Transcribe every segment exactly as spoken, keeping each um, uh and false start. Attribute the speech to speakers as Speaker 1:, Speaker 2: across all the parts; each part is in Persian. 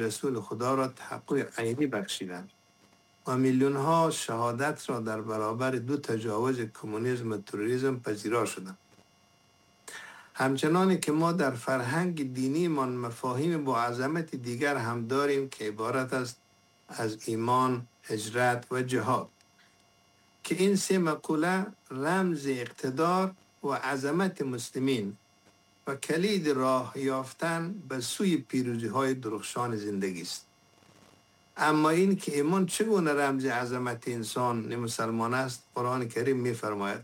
Speaker 1: رسول خدا را تحقق عینی بخشیدند و میلیون ها شهادت را در برابر دو تجاوز کمونیسم و تروریسم پذیرا شدند. همچنان که ما در فرهنگ دینی من مفاهیم با عظمت دیگر هم داریم که عبارت است از ایمان، هجرت و جهاد، که این سه مقوله رمز اقتدار و عظمت مسلمین و کلید راه یافتن به سوی پیروزی های درخشان زندگی است. اما این که ایمان چگونه رمز عظمت انسان مسلمان است، قرآن کریم می‌فرماید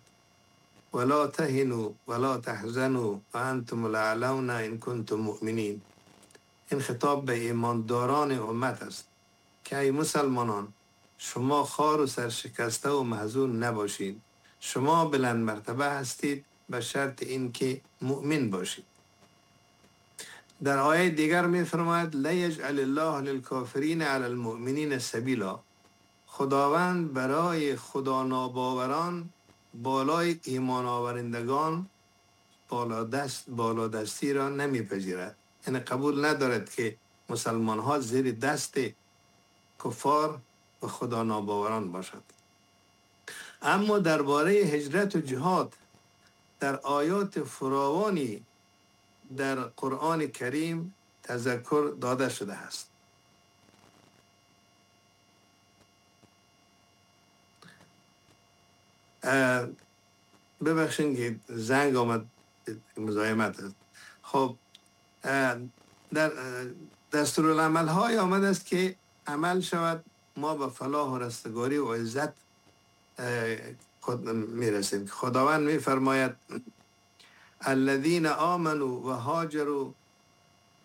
Speaker 1: ولا تهنوا ولا تحزنوا وانتم الاعلون ان کنتم مؤمنین. این خطاب به ایمانداران امت است که ای مسلمانان، شما خار و سرشکسته و محزون نباشید، شما بلند مرتبه هستید به شرط اینکه مؤمن باشید. در آیه دیگر می‌فرماید لا یجعل الله للکافرین علی المؤمنین سبیلا. خداوند برای خدا ناباوران بالای ایمان آورندگان بالا دست بالا دستی را نمیپذیرد، یعنی قبول ندارد که مسلمان ها زیر دست کفار و خدا ناباوران باشد. اما درباره هجرت و جهاد در آیات فراوانی در قرآن کریم تذکر داده شده است. ببخشید که زنگ آمد، مزاحمت است. خب در دستورالعمل های آمده است که عمل شود ما به فلاح و رستگاری و عزت خود میرسیم. خداوند میفرماید الذين آمنوا وهاجروا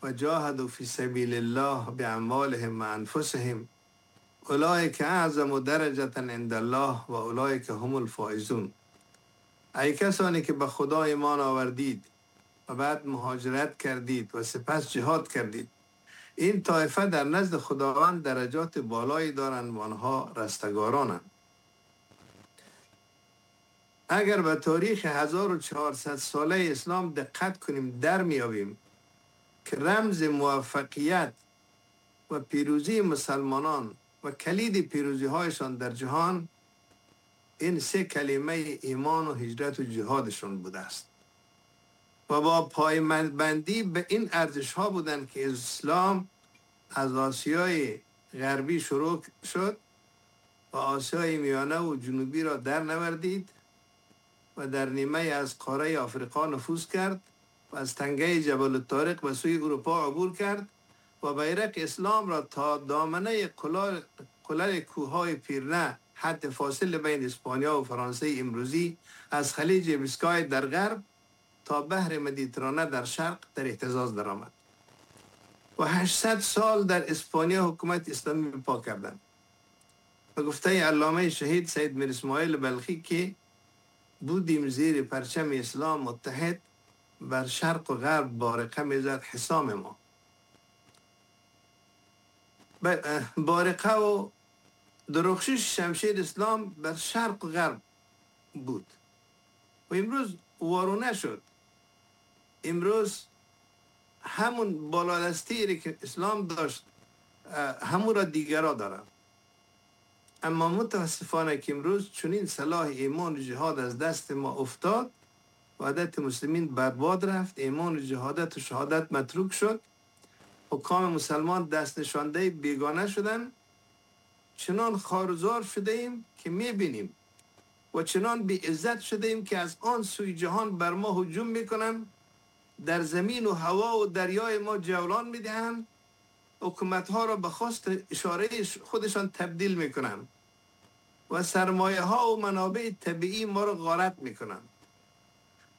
Speaker 1: وجاهدوا في سبيل الله بأموالهم وأنفسهم اولئک اعظم درجة عند الله و اولئک هم الفائزون. ای کسانی که به خدا ایمان آوردید و بعد مهاجرت کردید و سپس جهاد کردید، این طایفه در نزد خداوند درجات بالایی دارند و آنها رستگارانند. اگر به تاریخ هزار و چهارصد ساله اسلام دقت کنیم در میابیم که رمز موفقیت و پیروزی مسلمانان و کلید پیروزی هایشان در جهان این سه کلمه ایمان و هجرت و جهادشان بوده است و با پایبندی به این ارزش ها بودند که اسلام از آسیای غربی شروع شد و آسیای میانه و جنوبی را در نوردید و در نیمه از قاره آفریقا نفوذ کرد و از تنگه جبل الطارق به سوی اروپا عبور کرد و بیرق اسلام را تا دامنه قلل قلل کوههای پیرنه، حد فاصل بین اسپانیا و فرانسه امروزی، از خلیج بیسکای در غرب تا بحر مدیترانه در شرق در اهتزاز درآمد و هشتصد سال در اسپانیا حکومت اسلامی پا کردند. به گفته علامه شهید سید میر اسماعیل بلخی که بودیم زیر پرچم اسلام متحد، بر شرق و غرب بارقه میزد حسام ما. بارقه و درخشش شمشیر اسلام بر شرق و غرب بود و امروز وارونه شد. امروز همون بالادستی که اسلام داشت همون را دیگرا دارن. اما متاسفانه که امروز چنین سلاح ایمان و جهاد از دست ما افتاد، وحدت مسلمین برباد رفت، ایمان و جهادت و شهادت متروک شد، حکام مسلمان دست نشانده بیگانه شدن، چنان خارزار شده ایم که میبینیم و چنان بی عزت شده ایم که از آن سوی جهان بر ما هجوم میکنن، در زمین و هوا و دریای ما جولان میدهند، حکومت ها را به خواست اشاره خودشان تبدیل میکنن و سرمایه ها و منابع طبیعی ما را غارت میکنن.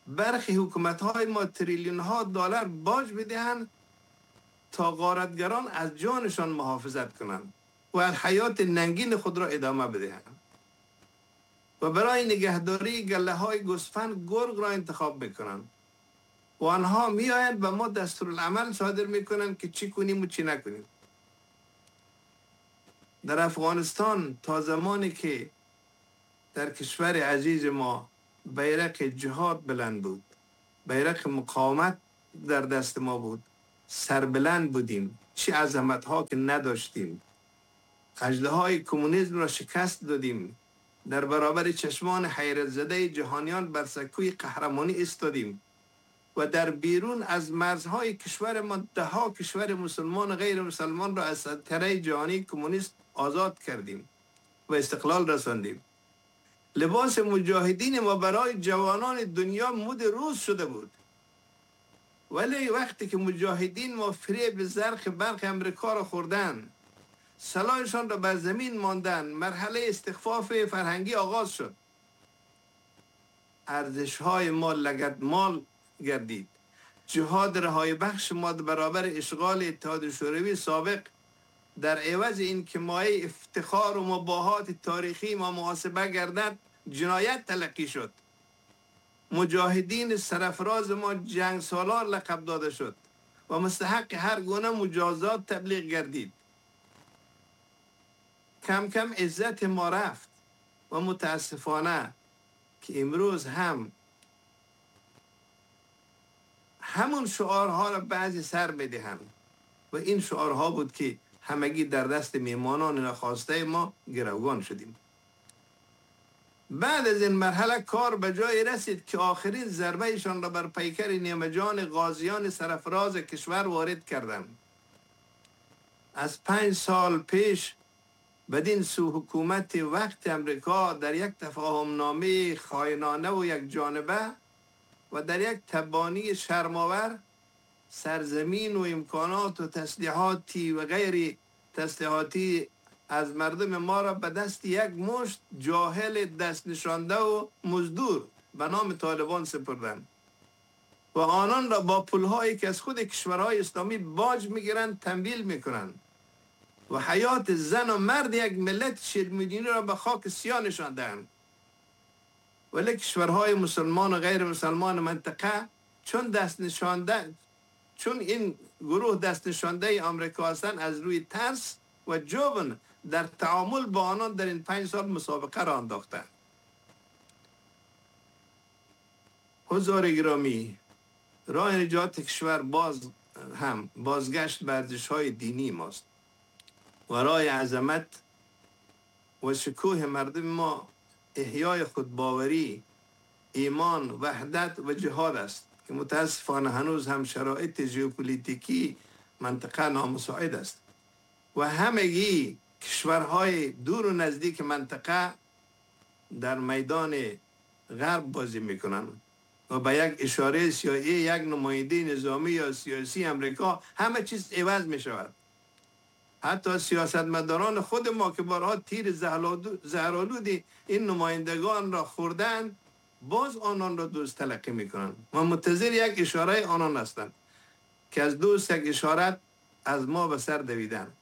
Speaker 1: برخی حکومت های ما تریلیون ها دلار باج میدهند تا غارتگران از جانشان محافظت کنند و از حیات ننگین خود را ادامه بدهند و برای نگهداری گله های گوسفند گرگ را انتخاب میکنند و آنها میآیند و ما دستورالعمل صادر میکنند که چی کنیم و چی نکنیم. در افغانستان تا زمانی که در کشور عزیز ما بیرق جهاد بلند بود، بیرق مقاومت در دست ما بود، سربلند بودیم، چه عظمت ها که نداشتیم. اژدهای کمونیسم را شکست دادیم، در برابر چشمان حیرت زده جهانیان بر سکوی قهرمانی ایستادیم و در بیرون از مرزهای کشور ما ده ها کشور مسلمان و غیر مسلمان را از سلطنت جهانی کمونیست آزاد کردیم و استقلال رساندیم. لباس مجاهدین ما برای جوانان دنیا مد روز شده بود، ولی وقتی که مجاهدین ما فریب زرق برق امریکا را خوردن، سلاحشان را بر زمین ماندن، مرحله استخفاف فرهنگی آغاز شد. ارزش‌های ما لگدمال گردید. جهاد رهای بخش ما برابر اشغال اتحاد شوروی سابق در عوض این که مایه افتخار و مباهات تاریخی ما محاسبه گردد، جنایت تلقی شد. مجاهدین سرفراز ما جنگ سالار لقب داده شد و مستحق هر گونه مجازات تبلیغ گردید. کم کم عزت ما رفت و متاسفانه که امروز هم همون شعارها را بعضی سر میدهند و این شعارها بود که همگی در دست میمانان ناخواسته ما گروگان شدیم. بعد از این مرحله کار به جای رسید که آخرین ضربه ایشان را بر پیکر نیمه جان غازیان سرفراز کشور وارد کردند. از پنج سال پیش بدین سو حکومت وقت امریکا در یک تفاهم نامه خائنانه و یک جانبه و در یک تبانی شرم‌آور سرزمین و امکانات و تسلیحاتی و غیر تسلیحاتی از مردم ما را به دست یک مشت جاهل دست نشانده و مزدور به نام طالبان سپردند و آنان را با پولهایی که از خود کشورهای اسلامی باج میگیرند تمویل میکنند و حیات زن و مرد یک ملت چهل میلیونی را به خاک سیاه نشاندند. ولی کشورهای مسلمان و غیر مسلمان منطقه چون دست نشانده چون این گروه دست نشانده آمریکا هستند، از روی ترس و جبن در تعامل با آنان در این پنج سال مسابقه را انداختند. حضار گرامی، راه نجات کشور باز هم بازگشت به ارزش‌های دینی ماست و راه عظمت و شکوه مردم ما احیای خودباوری، ایمان، وحدت و جهاد است که متاسفانه هنوز هم شرایط ژئوپلیتیکی منطقه نامساعد است و همگی کشورهای دور و نزدیک منطقه در میدان غرب بازی میکنند و با یک اشاره سیاسی یک نماینده نظامی یا سیاسی امریکا همه چیز عوض می شود. حتی سیاستمداران خود ما که بارها تیر زهرآلود این نمایندگان را خوردن، باز آنان را دوست تلقی میکنند و منتظر یک اشاره آنان هستند که از دوست یک اشاره از ما به سر دویدن.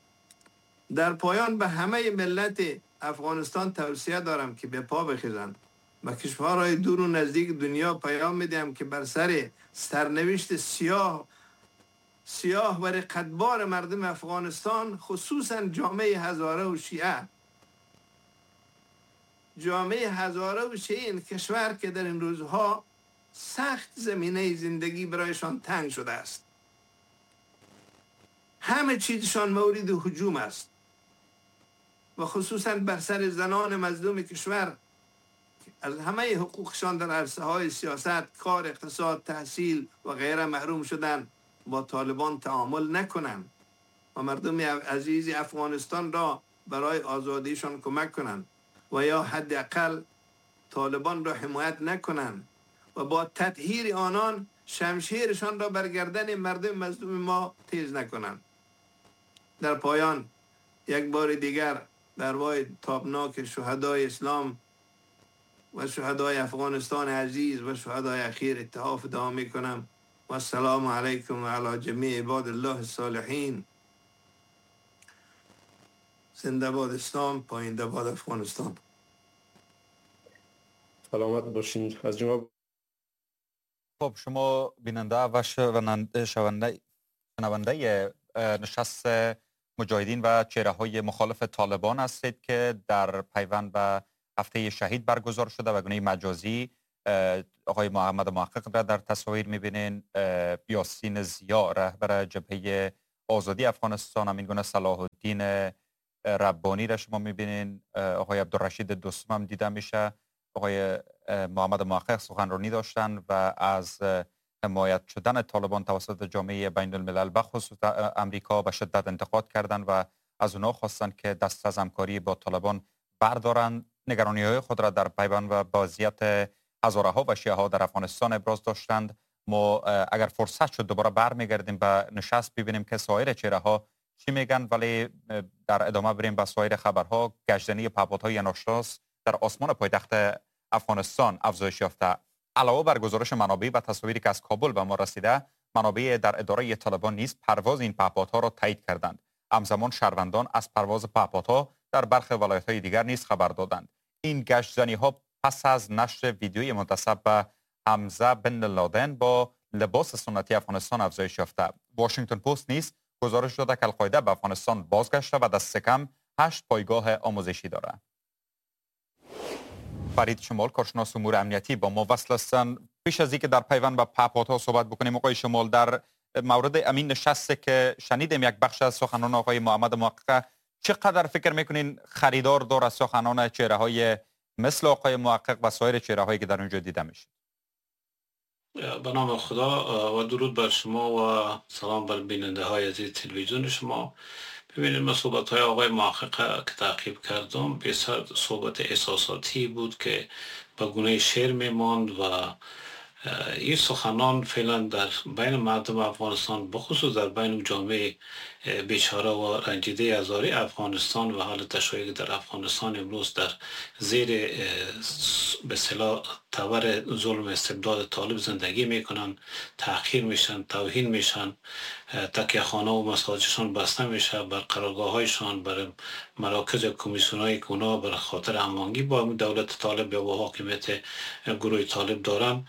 Speaker 1: در پایان به همه ملت افغانستان توصیه دارم که به پا بخیزند و کشورهای دور و نزدیک دنیا پیام میدهم که بر سر سرنوشت سیاه سیاه و رقتبار مردم افغانستان، خصوصا جامعه هزاره و شیعه، جامعه هزاره و شیعه این کشور که در این روزها سخت زمینه زندگی برایشان تنگ شده است، همه چیزشان مورد هجوم است و خصوصا بر سر زنان مظلوم کشور از همه حقوقشان در عرصه های سیاست، کار، اقتصاد، تحصیل و غیره محروم شدن، با طالبان تعامل نکنند و مردم عزیز افغانستان را برای آزادیشان کمک کنند و یا حداقل طالبان را حمایت نکنند و با تطهیر آنان شمشیرشان را بر گردن مردم مظلوم ما تیز نکنند. در پایان یک بار دیگر در وای تابناک شهدای اسلام و شهدای افغانستان عزیز و شهدای اخیر اتحاف دعا میکنم. و السلام علیکم و علی جمیع عباد الله الصالحین. زنده باد اسلام، پاینده باد افغانستان.
Speaker 2: سلامت باشین از جناب.
Speaker 3: خب شما بیننده و شنونده شنونده نشست مجاهدین و چهره های مخالف طالبان هستید که در پیوند به هفته شهید برگزار شده و گونه مجازی آقای محمد محقق را در تصاویر میبینین، یاسین ضیا رهبر جبهه آزادی افغانستان، همین گونه صلاح الدین ربانی را شما میبینین، آقای عبدالرشید دوستم هم دیده میشه. آقای محمد محقق سخنرانی داشتن و از حمایت شدن طالبان توسط جامعه بین الملل بخصوص امریکا به شدت انتقاد کردند و از اونا خواستند که دست از همکاری با طالبان بردارند. نگرانی های خود را در پیوند و وضعیت هزاره ها و شیعه ها در افغانستان ابراز داشتند. ما اگر فرصت شد دوباره برمیگردیم به نشست ببینیم که سایر چهره ها چی میگن، ولی در ادامه بریم به سایر خبرها. گشتنی پهپادهای ناشناس در آسمان پایتخت افغانستان افزایش یافته. علاوه بر گزارش منابع و تصاویری که از کابل به ما رسیده، منابع در اداره طالبان نیز پرواز این پهپادها را تایید کردند. همزمان شهروندان از پرواز پهپادها در برخی ولایت‌های دیگر نیز خبر دادند. این گشت‌زنی‌ها پس از نشر ویدیوی منتسب به حمزه بن لادن با لباس سنتی افغانستان افزایش یافته. واشنگتن پست نیز گزارش داده که القاعده به افغانستان بازگشته و دست کم هشت پایگاه آموزشی دارد. فرید شمال، کارشناس امور امنیتی، با ما وصل هستند. پیش از اینکه در پیوند با پهپادها صحبت بکنیم، آقای شمال، در مورد امین نشسته که شنیدیم یک بخش از سخنان آقای محمد محقق، چقدر فکر میکنین خریدار داره سخنان چهره های مثل آقای محقق و سایر چهره هایی که در اونجا دیده میشه؟
Speaker 4: به نام خدا و درود بر شما و سلام بر بیننده های عزیز تلویزیون شما. ببینید، من صحبت های آقای محقق که تعقیب کردم بسیار صحبت احساساتی بود که به گونه شعر میماند و این سخنان فعلا در بین مردم افغانستان، بخصوص در بین جامعه بیچاره و رنجیده هزاره افغانستان و حال تشیع در افغانستان امروز در زیر به اصطلاح تبر ظلم استبداد طالب زندگی میکنن، تحقیر میشن، توهین میشن، تکیه خانه و مساجدشان بسته میشه، بر قرارگاه هایشان، بر مراکز کمیسیون های که اونا بر خاطر هماهنگی با دولت طالب یا با حاکمیت گروه طالب دارن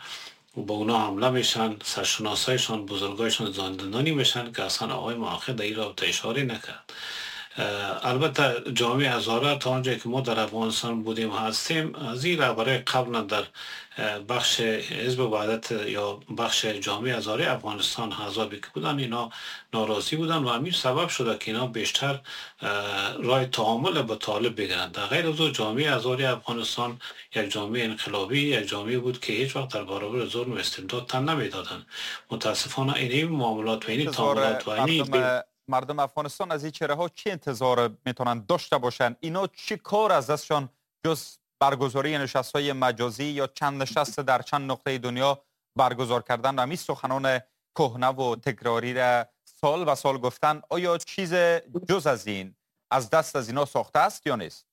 Speaker 4: و با اونا حمله میشن، سرشناسایشان، بزرگایشان زندانی میشن که اصلا آقای محقق در این رابطه اشاره نکرد. البته جامعه هزاره تا آنجایی که ما در افغانستان بودیم هستیم، از این رهبرای قبل در بخش حزب وحدت یا بخش جامعه هزاره افغانستان حزابی که بودن اینا ناراضی بودن و همین سبب شده که اینا بیشتر رای تعامل با طالب بگیرند. در غیر از او جامعه هزاره افغانستان یک جامعه انقلابی، یک جامعه بود که هیچ وقت در برابر ظلم و استبداد تن نمیدادن. متاسفانه این معاملات و این تعاملات و این
Speaker 3: مردم افغانستان از این چهره ها چه انتظار میتونن داشته باشن؟ اینا چه کار از دستشان جز برگزاری نشست های مجازی یا چند نشست در چند نقطه دنیا برگزار کردن و همین سخنان کهنه و تکراری را سال و سال گفتن، آیا چیز جز از این از دست از اینا ساخته است یا نیست؟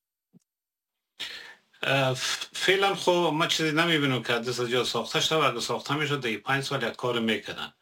Speaker 4: فعلا خب ما چیزی نمیبینم که دست از جا ساخته شده و اگه ساخته میشد در پنج سال یک کار میکردن.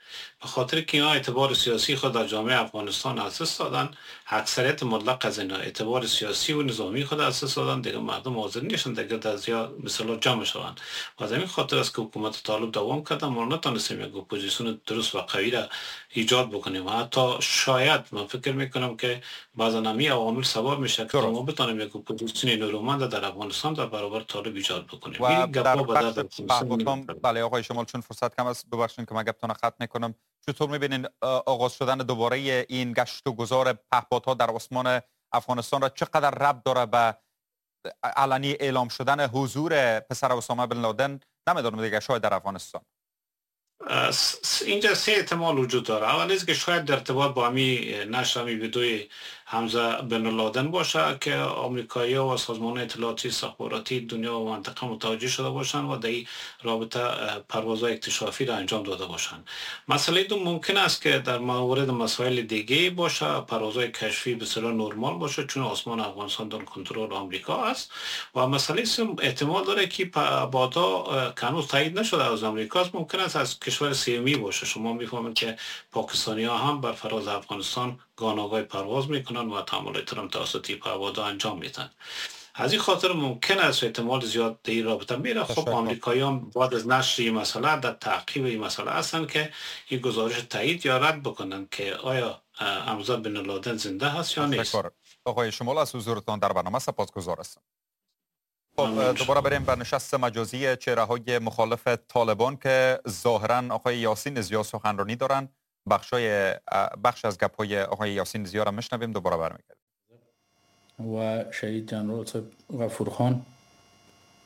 Speaker 4: به خاطر که اینا اعتبار سیاسی خود در جامعه افغانستان از دست دادن، اکثریت مطلق از اینا اعتبار سیاسی و نظامی خود از دست دادن، دیگه مردم حاضر نیستن دیگه در زیاد مثلا جمع شوند و از همین خاطر است که حکومت طالب دوام کردن. ما نتونستیم یک اپوزیسیون درست و قوی را ایجاد بکنیم و حتی شاید من فکر میکنم که بعضا همین عوامل سبب میشه که ما بتونیم یک اپوزیسیون نیرومند در افغانستان در برابر طالب ایجاد بکنیم.
Speaker 3: و در بخش بله آقای شمال، چون فرصت کم است ببخشید که من گپتون ختم میکنم، چطور میبینین آغاز شدن دوباره این گشت و گذار پهپادها در آسمان افغانستان را چقدر ربط داره به علنی اعلام شدن حضور پسر اسامه بن لادن، نمیدونم دیگه، شاید در افغانستان؟
Speaker 4: اینجا سه احتمال وجود داره. اول از که شاید در ارتباط با همی نشر همی ویدئوی حمزه بن لادن باشه که آمریکایی‌ها و سازمان اطلاعاتی استخباراتی دنیا و منطقه متوجه شده باشند و در این رابطه پروازهای اکتشافی را انجام داده باشند. مسئله دو ممکن است که در مورد مسائل دیگه باشه، پروازهای کشفی به اصطلاح نرمال باشه چون آسمان افغانستان در کنترل آمریکا است. و مسئله سوم احتمال داره که بعدا که هنوز تایید نشده از آمریکا است، ممکن است از کشور سیمی باشه. شما میفهمید که پاکستانی ها هم بر فراز افغانستان گاناگای پرواز میکنن و تعاملات را توسط پهپادها انجام میدن. از این خاطر ممکن است احتمال زیاد در این رابطه میره. خب آمریکاییان بعد از نشر این مسئله در تعقیب این مسئله هستند که این گزارش تایید یا رد بکنن که آیا حمزه بن لادن زنده هست یا نیست.
Speaker 3: آقای شمال، از حضورتان در برنامه سپاسگزار هستم. خب دوباره بریم بر نشست مجازی چهره‌های مخالف طالبان که ظاهرا آقای یاسین ضیا سخنرانی دارن. بخشای بخش از گپ‌های آقای یاسین ضیا را میشنویم، دوباره برمیگردیم.
Speaker 5: و شهید جنرال صاحب غفور خان،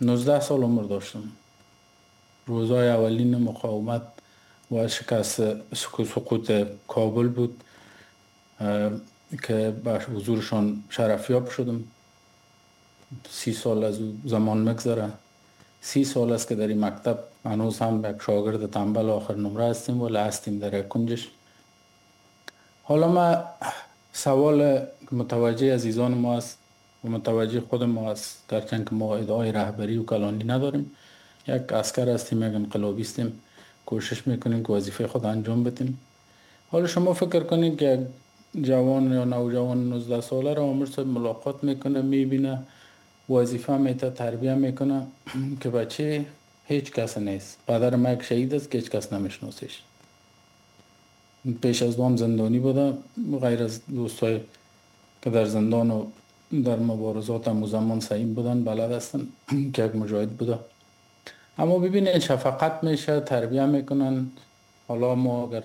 Speaker 5: نوزده سال عمر داشتم. روزهای اولین مقاومت و شکست سقوط کابل بود که به حضورشان شرفیاب شدم. سی سال از زمان مگذره، سی سال است که در این مکتب هنوز هم یک شاگرد تنبل آخر نمره هستیم ولی هستیم در یک کنجش. حالا ما سوال متوجه عزیزان ما است و متوجه خود ما است، گرچند که ما ادعای رهبری و کلانی نداریم، یک عسکر هستیم، یک انقلابی هستیم، کوشش میکنیم که وظیفه خود انجام بدیم. حالا شما فکر کنید که جوان یا نوجوان نوزده ساله را آمر صاحب ملاقات میکنه، میبینه، وظیفه میته، تربیه میکنه که بچه هیچ کس نیست. پدر ما یک شهید است که هیچ کس نمیشناسیش. پیش از دوام زندانی بوده، غیر از دوستای که در زندان و در مبارزات هم زمان سعیم بودن، بلد هستن که یک مجاهد بوده. اما ببینید شفقت میشه، تربیه میکنن. حالا ما اگر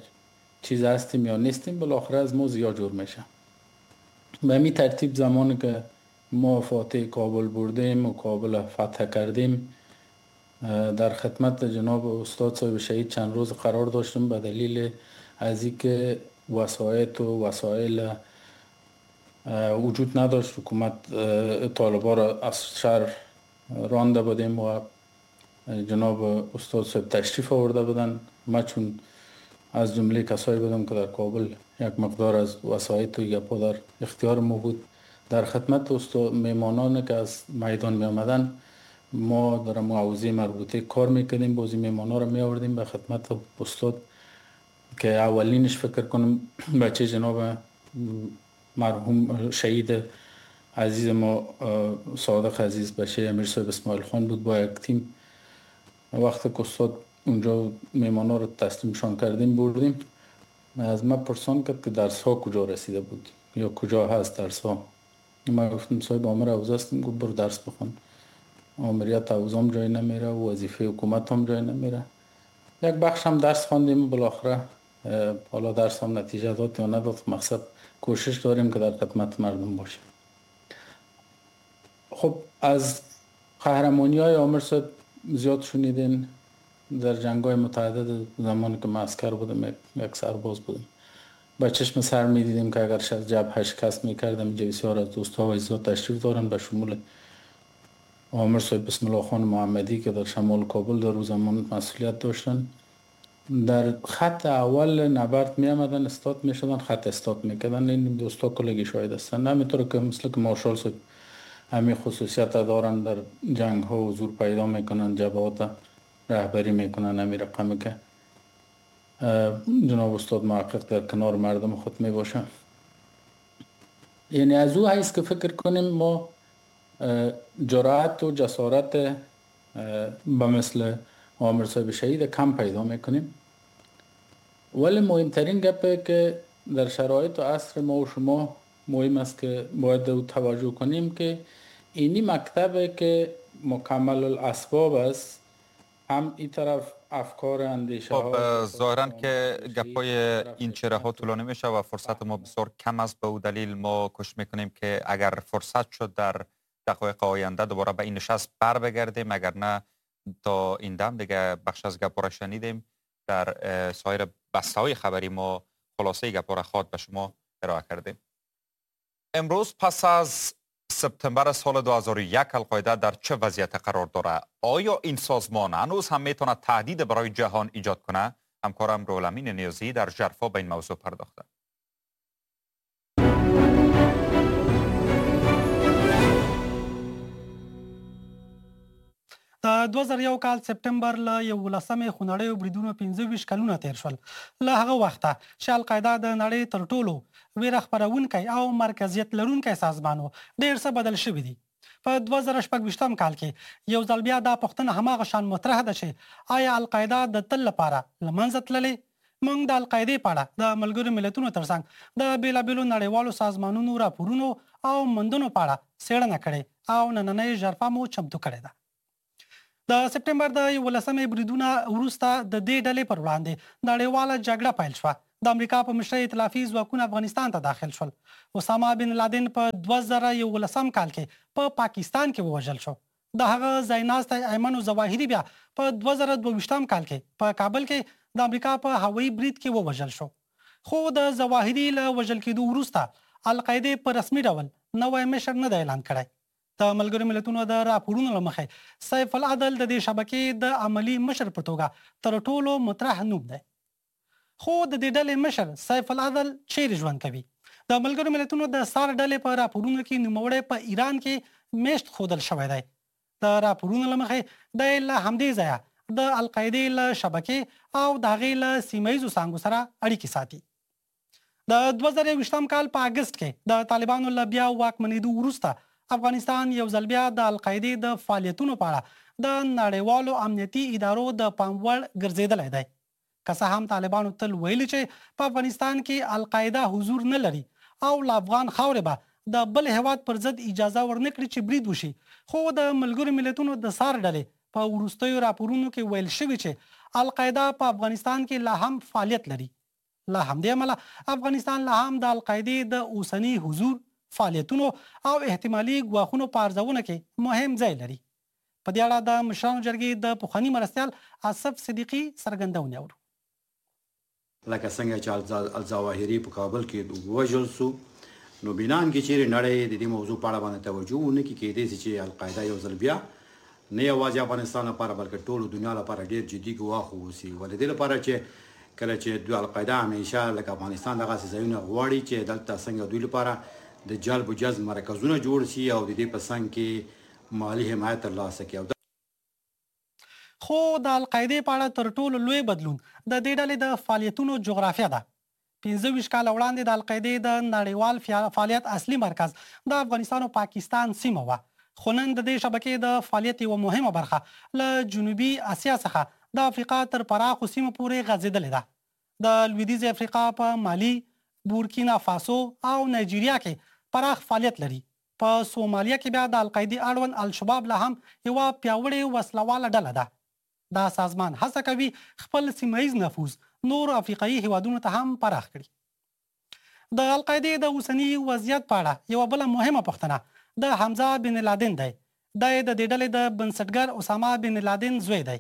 Speaker 5: چیز هستیم یا نیستیم، بالاخره از ما زیاد جور میشه. به می ترتیب زمانی که ما فاتح کابل بردیم و کابل فتح کردیم، در خدمت جناب استاد صاحب شهید چند روز قرار داشتم، به دلیل از اینکه وسایط و وسایل وجود نداشت. حکومت طالبان را از شهر رانده بودیم و جناب استاد صاحب تشریف آورده بودن. ما چون از جمله کسایی بودم که در کابل یک مقدار از وسایط و گپا در اختیار ما بود، در خدمت استاد میمانان که از میدان می آمدن ما در معوضه مربوطه کار میکردیم. بازی میمانا را می آوردیم به خدمت استاد که اولینش فکر کنم بچه جناب مرحوم شهید عزیز ما صادق عزیز بچه امیر صاحب اسماعیل خان بود با یک تیم. وقتی که استاد اونجا میمانا رو تسلیمشان کردیم بردیم، از ما پرسان کرد که درس ها کجا رسیده بود یا کجا هست درس ها. ما گفتم صاحب آمر حوزه هستیم. گفت برو درس بخوان، آمریت حوزه هم جای نمیره و وظیفه حکومت هم جای نمیره. یک بخش هم درس خواندیم، بالاخره حالا درس هم نتیجه داد یا نداد، مقصد کوشش داریم که در خدمت مردم باشیم. خب از قهرمانی های آمر صاحب زیاد شنیدین. در جنگ های متعدد زمانی که من عسکر بودم، یک سرباز بودم، با چشم سر می دیدیم که اگر از جبهه شکست می کردم، اینجا بسیار از دوستها و عزیزا تشریف دارن، به شمول آمر صاحب بسم الله خان محمدی که در شمال کابل در روز زمان مسئولیت داشتن. در خط اول نبرد می آمدن، استاد می شدن، خط استاد می کردن. این دوستا کلگی شاهد هستن. همینطور که مثل که مارشال صاحب همین خصوصیت دارن، در جنگ ها حضور پیدا میکنن، جبهات رهبری میکنن. همین رقمی که جناب استاد محقق در کنار مردم خود می باشن. یعنی از او حیث که فکر کنیم ما جرأت و جسارت به مثل آمر صاحب شهید کم پیدا میکنیم. ولی مهمترین گپه که در شرایط و عصر ما و شما مهم است که باید او توجه کنیم که اینی مکتبه که مکمل الاسباب است، هم این طرف افکار اندیشه ها.
Speaker 3: خب ظاهرا که گپای این چهره ها طولانی میشه و فرصت ما بسیار کم است. به او دلیل ما کوشش میکنیم که اگر فرصت شد در دقایق آینده دوباره به این نشست بر بگردیم، اگر نه تا این دم دیگه بخش از گپا را شنیدیم. در سایر بسته های خبری ما خلاصه گپا را خواد به شما ارائه کردیم. امروز پس از سپتامبر سال دو هزار و یک القاعده در چه وضعیت قرار داره؟ آیا این سازمان هنوز هم میتونه تهدید برای جهان ایجاد کنه؟ همکارم رولامین نیازی در ژرفا به این موضوع پرداخته.
Speaker 6: د دوه زره یو کال سپټمبر له یوولسمې خونړیو بریدونو پنځه ویشت کلونه تیر شول. له هغه وخته چې القاعده د نړۍ تر ټولو ویره خپرونکی او مرکزیت لرونکی سازمان و، ډېر څه بدل شوي دي. په دوه زره شپږ ویشتم کال کې یو ځل بیا دا پوښتنه هماغه شان مطرح ده چې آیا القاعده د تل لپاره له منځه تللې؟ موږ د القاعدې په اړه د ملګرو ملتونو ترڅنګ د بېلابېلو نړیوالو سازمانونو راپورونو او موندنو په اړه څېړنه کړې او نننۍ ژرفه مو چمتو کړې ده. د سپټمبر د یولسمې بریدونه وروسته د دې ډلې پر وړاندې نړیواله جګړه پیل شوه. د امریکا په مشرۍ ائتلافي ځواکونه افغانستان ته داخل شول. اسامه بن لادن په دوه زره یولسم کال کې په پاکستان کې ووژل شو. د هغه ځایناستی ایمن الظواهري بیا په دوه زره دوه ویشتم کال کې په کابل کې د امریکا په هوایي برید کې ووژل شو. خو د ظواهري له وژل کېدو وروسته القاعدې په رسمي ډول نوی مشر نه دی اعلان کړی. د ملګرو ملتونو د راپورونو له مخې سیف العدل د دې شبکې د عملي مشر په توګه تر ټولو مطرح نوم دی. خو د دې ډلې مشر سیف العدل چیرې ژوند کوي؟ د ملګرو ملتونو د څار ډلې په راپورونو کې نوموړی په ایران کې میشت ښودل شوی دی. د راپورونو له مخې دی له همدې ځایه د القاعدې له شبکې او د هغې له سیمه ییزو څانګو سره اړیکې ساتي. د دوه زره یوویشتم کال په اګست کې د طالبانو له بیا واکمنېدو وروسته افغانستان یو ځل بیا د القاعدې د فعالیتونو په اړه د نړیوالو امنیتي ادارو د پام وړ ګرځېدلی دی. که څه هم طالبانو تل ویلي چې په افغانستان کې القاعده حضور نه لري او له افغان خاورې به د بل هیواد پر ضد اجازه ورنکړي چې برید وشي، خو د ملګرو ملتونو د څار ډلې په وروستیو راپورونو کې ویل شوي چې القاعده په افغانستان کې لا هم فعالیت لري. له همدې امله افغانستان لا هم د القاعدې د اوسني حضور، فعالیتونو او احتمالي ګواښونو په ارزونه کې مهم ځای لري. په دې اړه د مشرانو جرګې د پخواني مرستیال اصف صدیقي څرګندونې اورو.
Speaker 7: لکه څنګه چې الظواهري په کابل کې ووژل سو، نو بنان کې چیرې نړۍ د دې موضوع په اړه باندې توجه ونه کړي، کېدای سي چې القاعده یو ځل بیا نه یوازې افغانستان لپاره بلکې ټولو دنیا لپاره ډېر جدي ګواښ واوسي. ولې دې لپاره چې کله چې دوی القاعده همیشه لکه افغانستان دغسې ځایونه غواړي چې دلته څنګه دوی لپاره د جلب و جذب مرکزونه جوړ سي او د دې په څنګ کې مالي حمایت ترلاسه کړي.
Speaker 6: خو د القاعدې په اړه تر ټولو لوی بدلون د دې ډلې د فعالیتونو جغرافیه ده. پنځه ویشت کاله وړاندې د القاعدې د نړیوال فعالیت اصلي مرکز د افغانستان او پاکستان سیمه وه، خو نن د دې شبکې د فعالیت یوه مهمه برخه له جنوبي اسیا څخه د افریقا تر پراخو سیمو پورې غځېدلې ده. د لویدیځې افریقا په مالي، بورکینا فاسو او نایجیریا کې پراخ فعالیت لري. په سومالیا کې بیا د القاعدې اړوند الشباب لا هم یوه پیاوړې وسلواله ډله ده. دا سازمان هڅه کوي خپل سیمه ییز نفوذ نورو افریقایي هیوادونو ته هم پراخ کړي. د القاعدې د اوسني وضعیت په اړه یوه بله مهمه پوښتنه د حمزه بن لادن دی. دی د دې ډلې د بنسټګر اسامه بن لادن زوی دی.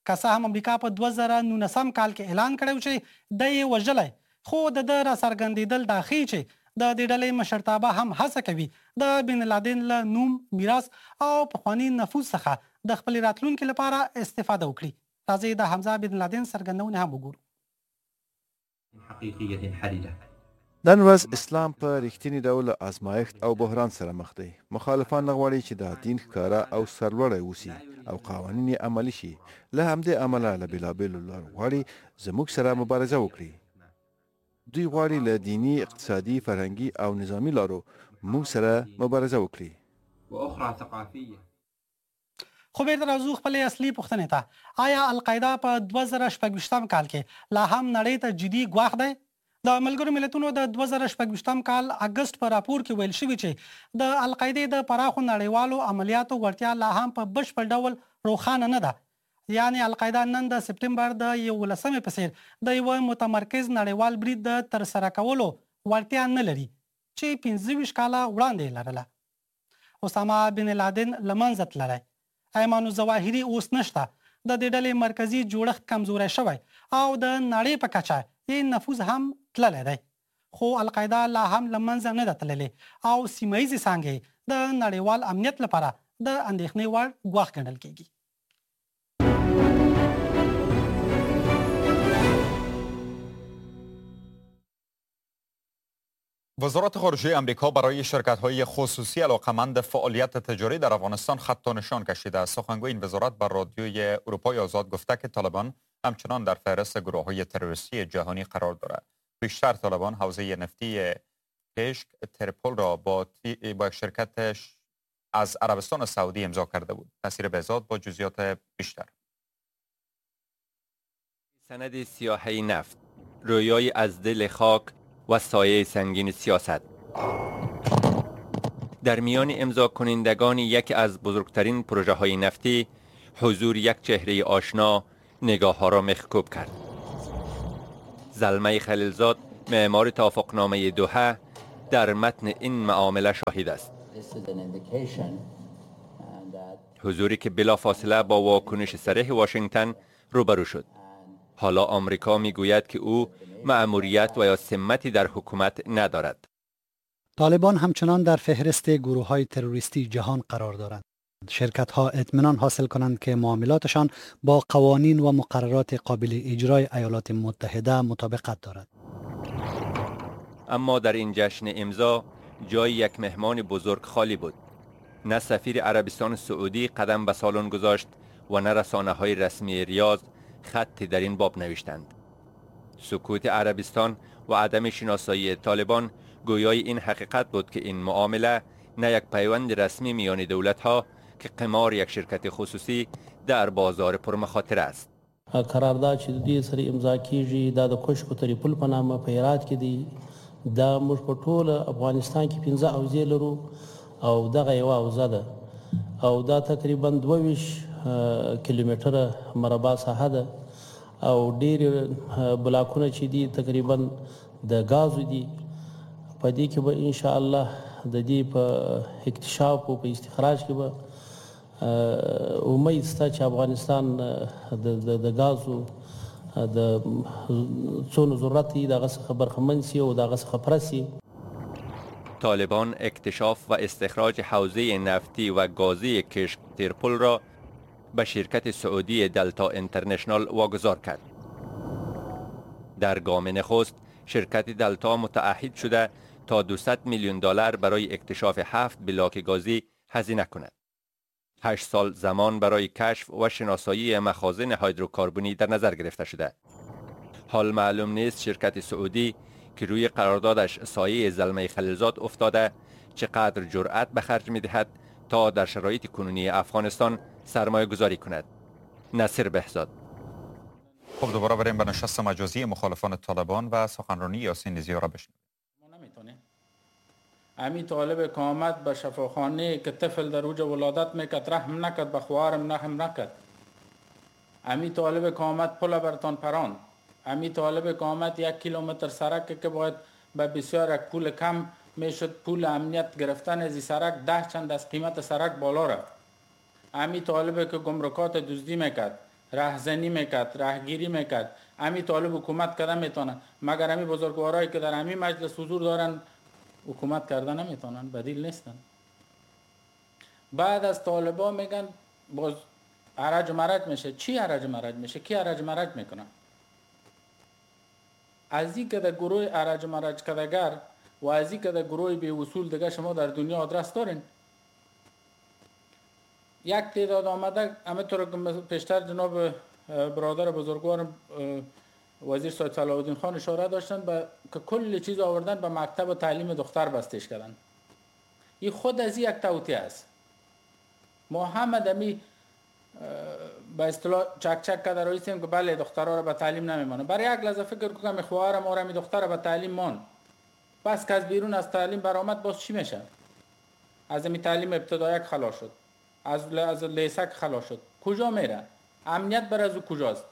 Speaker 6: که څه هم امریکا په دوه زره نولسم کال کې اعلان کړی چې دی یې وژلی، خو د ده راڅرګندېدل دا ښیي چې د دې ډلې مشرتابه هم هڅه کوي د بن لادن له نوم، میراث او پخواني نفوذ څخه د خپلې راتلونکې لپاره استفاده وکړي. راځئ د حمزه بن لادن څرګندونې هم وګورو.
Speaker 8: نن ورځ اسلام په رښتیني ډول له ازمایښت او بحران سره مخ دی. مخالفان نه غواړي چې دا دین ښکاره او سرلوړی اوسي او قوانین یې عملي شي. له همدې امله له بېلابېلو لارو غواړي زموږ سره مبارزه وکړي. دوی غواړي له دیني، اقتصادي، فرهنګي او نظامي لارو موږ سره مبارزه وکړي.
Speaker 6: خو بیرته راځو خپلې اصلي پوښتنې ته. آیا القاعده په دوه زره شپږویشتم کال کې لا هم نړۍ ته جدي ګواښ دی؟ د ملګرو ملتونو د دوه زره شپږویشتم کال اګست په راپور کې ویل شوي چې د القاعدې د پراخو نړیوالو عملیاتو وړتیا لا هم په بشپړ ډول روښانه نه ده. یعنې القاعده نن د سپټمبر د یولسمې په څېر د یوه متمرکز نړیوال برید د ترسره کولو وړتیا نه لري چې پنځه ویشت کاله وړاندې یې لرله. اسامه بن لادن له منځه تللی، ایمن الظواهري اوس نشته، د دې ډلې مرکزي جوړښت کمزوری شوی او د نړۍ په کچه یې نفوذ هم تللی دی. خو القاعده لا هم له منځه نه ده تللې او سیمه ییزې څانګې د نړیوال امنیت لپاره د اندېښنې وړ ګواښ ګڼل کیږي.
Speaker 3: وزارت خارجه امریکا برای شرکت‌های خصوصی علاقمند فعالیت تجاری در افغانستان خط و نشان کشیده است. سخنگوی این وزارت بر رادیوی اروپای آزاد گفته که طالبان همچنان در فهرست گروه‌های تروریستی جهانی قرار دارد. بیشتر طالبان حوزه نفتی کشک ترپل را با با شرکت از عربستان سعودی امضا کرده بود. نصیر بهزاد با جزئیات بیشتر.
Speaker 9: سند سیاهی نفت رویای از دل خاک و سایه سنگین سیاست. در میان امضا کنندگان یکی از بزرگترین پروژه های نفتی، حضور یک چهره آشنا نگاه ها را مخکوب کرد. زلمی خلیلزاد، معمار توافقنامه دوحه، در متن این معامله شاهد است. حضوری که بلافاصله با واکنش صریح واشنگتن روبرو شد. حالا آمریکا میگوید که او مأموریت و یا سمتی در حکومت ندارد.
Speaker 10: طالبان همچنان در فهرست گروه های تروریستی جهان قرار دارند. شرکت ها اطمینان حاصل کنند که معاملاتشان با قوانین و مقررات قابل اجرای ایالات متحده مطابقت دارد.
Speaker 9: اما در این جشن امضا جای یک مهمان بزرگ خالی بود. نه سفیر عربستان سعودی قدم به سالن گذاشت و نه رسانه های رسمی ریاض خطی در این باب نوشتند. سکوت عربستان و عدم شناسایی طالبان گویای این حقیقت بود که این معامله نه یک پیوند رسمی میان دولت ها که قمار یک شرکت خصوصی در بازار پرمخاطره است.
Speaker 11: قرارداد چې د دې سره امضا کیږي دا د کشک تریپل په نامه په هرات کې دی. دا موږ په ټوله افغانستان کې پنځه حوزې لرو او دغه یوه حوزه ده او دا تقریبا دوه ویشت کیلومتره مربع ساحه ده او ډېر بلاکونه چې دي تقریبا د ګازو دي. په دې کې به ان شاء الله د دې په اکتشاف او په استخراج کې به امید شته چې افغانستان د ګازو د څونه ضرورت دی د هغه څخه برخمن شي او د هغه څخه پوره شي.
Speaker 9: طالبان اکتشاف و استخراج حوزه نفتی و گازی کشک تیرپل را به شرکت سعودی دلتا اینترنشنال واگذار کرد. در گام نخست شرکت دلتا متعهد شده تا دویست میلیون دلار برای اکتشاف هفت بلاک گازی هزینه کند. هشت سال زمان برای کشف و شناسایی مخازن هیدروکربنی در نظر گرفته شده. حال معلوم نیست شرکت سعودی که روی قراردادش سایه زلمی خلیلزاد افتاده چقدر جرأت به خرج می‌دهد تا در شرایط کنونی افغانستان سرمایه گذاری کند. نصیر بهزاد.
Speaker 3: خب دوباره بریم به نشست مجازی مخالفان طالبان و سخنرانی یاسین ضیا را بشنویم.
Speaker 5: ما نمیتونیم. امی طالب که آمد به شفاخانه که طفل در اوج ولادت میکرد رحم نکرد، به خواهرم رحم نکرد. امی طالب که آمد پل برتان پراند. امی طالب که آمد یک کیلومتر سرک که باید به بسیار یک پول کم میشد پول امنیت گرفتن از این سرک ده چند از قیمت سرک بالا رفت. امی طالب که گمرکات دزدی میکرد، رهزنی میکرد، رهگیری میکرد، امی طالب حکومت کرده میتونه. مگر امی بزرگوارایی که در امی مجلس حضور دارن حکومت کرده نمیتونن، بدیل نیستن. بعد از طالبا میگن باز عرج مرج میشه. چی عرج مرج میشه؟ کی عرج مرج میکنه؟ از این که در گروه عرج مرج کدگر و از این که در گروه بی اصول دیگه شما در دنیا آدرس دارین. یک تعداد آمده همه طور که پیشتر جناب برادر بزرگوارم وزیر سید صلاح الدین خان اشاره داشتن به که کل چیز آوردن به مکتب و تعلیم دختر بستش کردن. این خود از یک توطئه است. ما همه دمی به اصطلاح چک چک کرده رایستیم که بله دخترها را به تعلیم نمیمانه. برای یک لحظه فکر کنم خواهرم ما را می دختر به تعلیم مان، پس که از بیرون از تعلیم برآمد باز چی میشه؟ از می تعلیم ابتدایی خلاص شد، از از لیسک خلاص شد، کجا میره؟ امنیت بر از او کجاست؟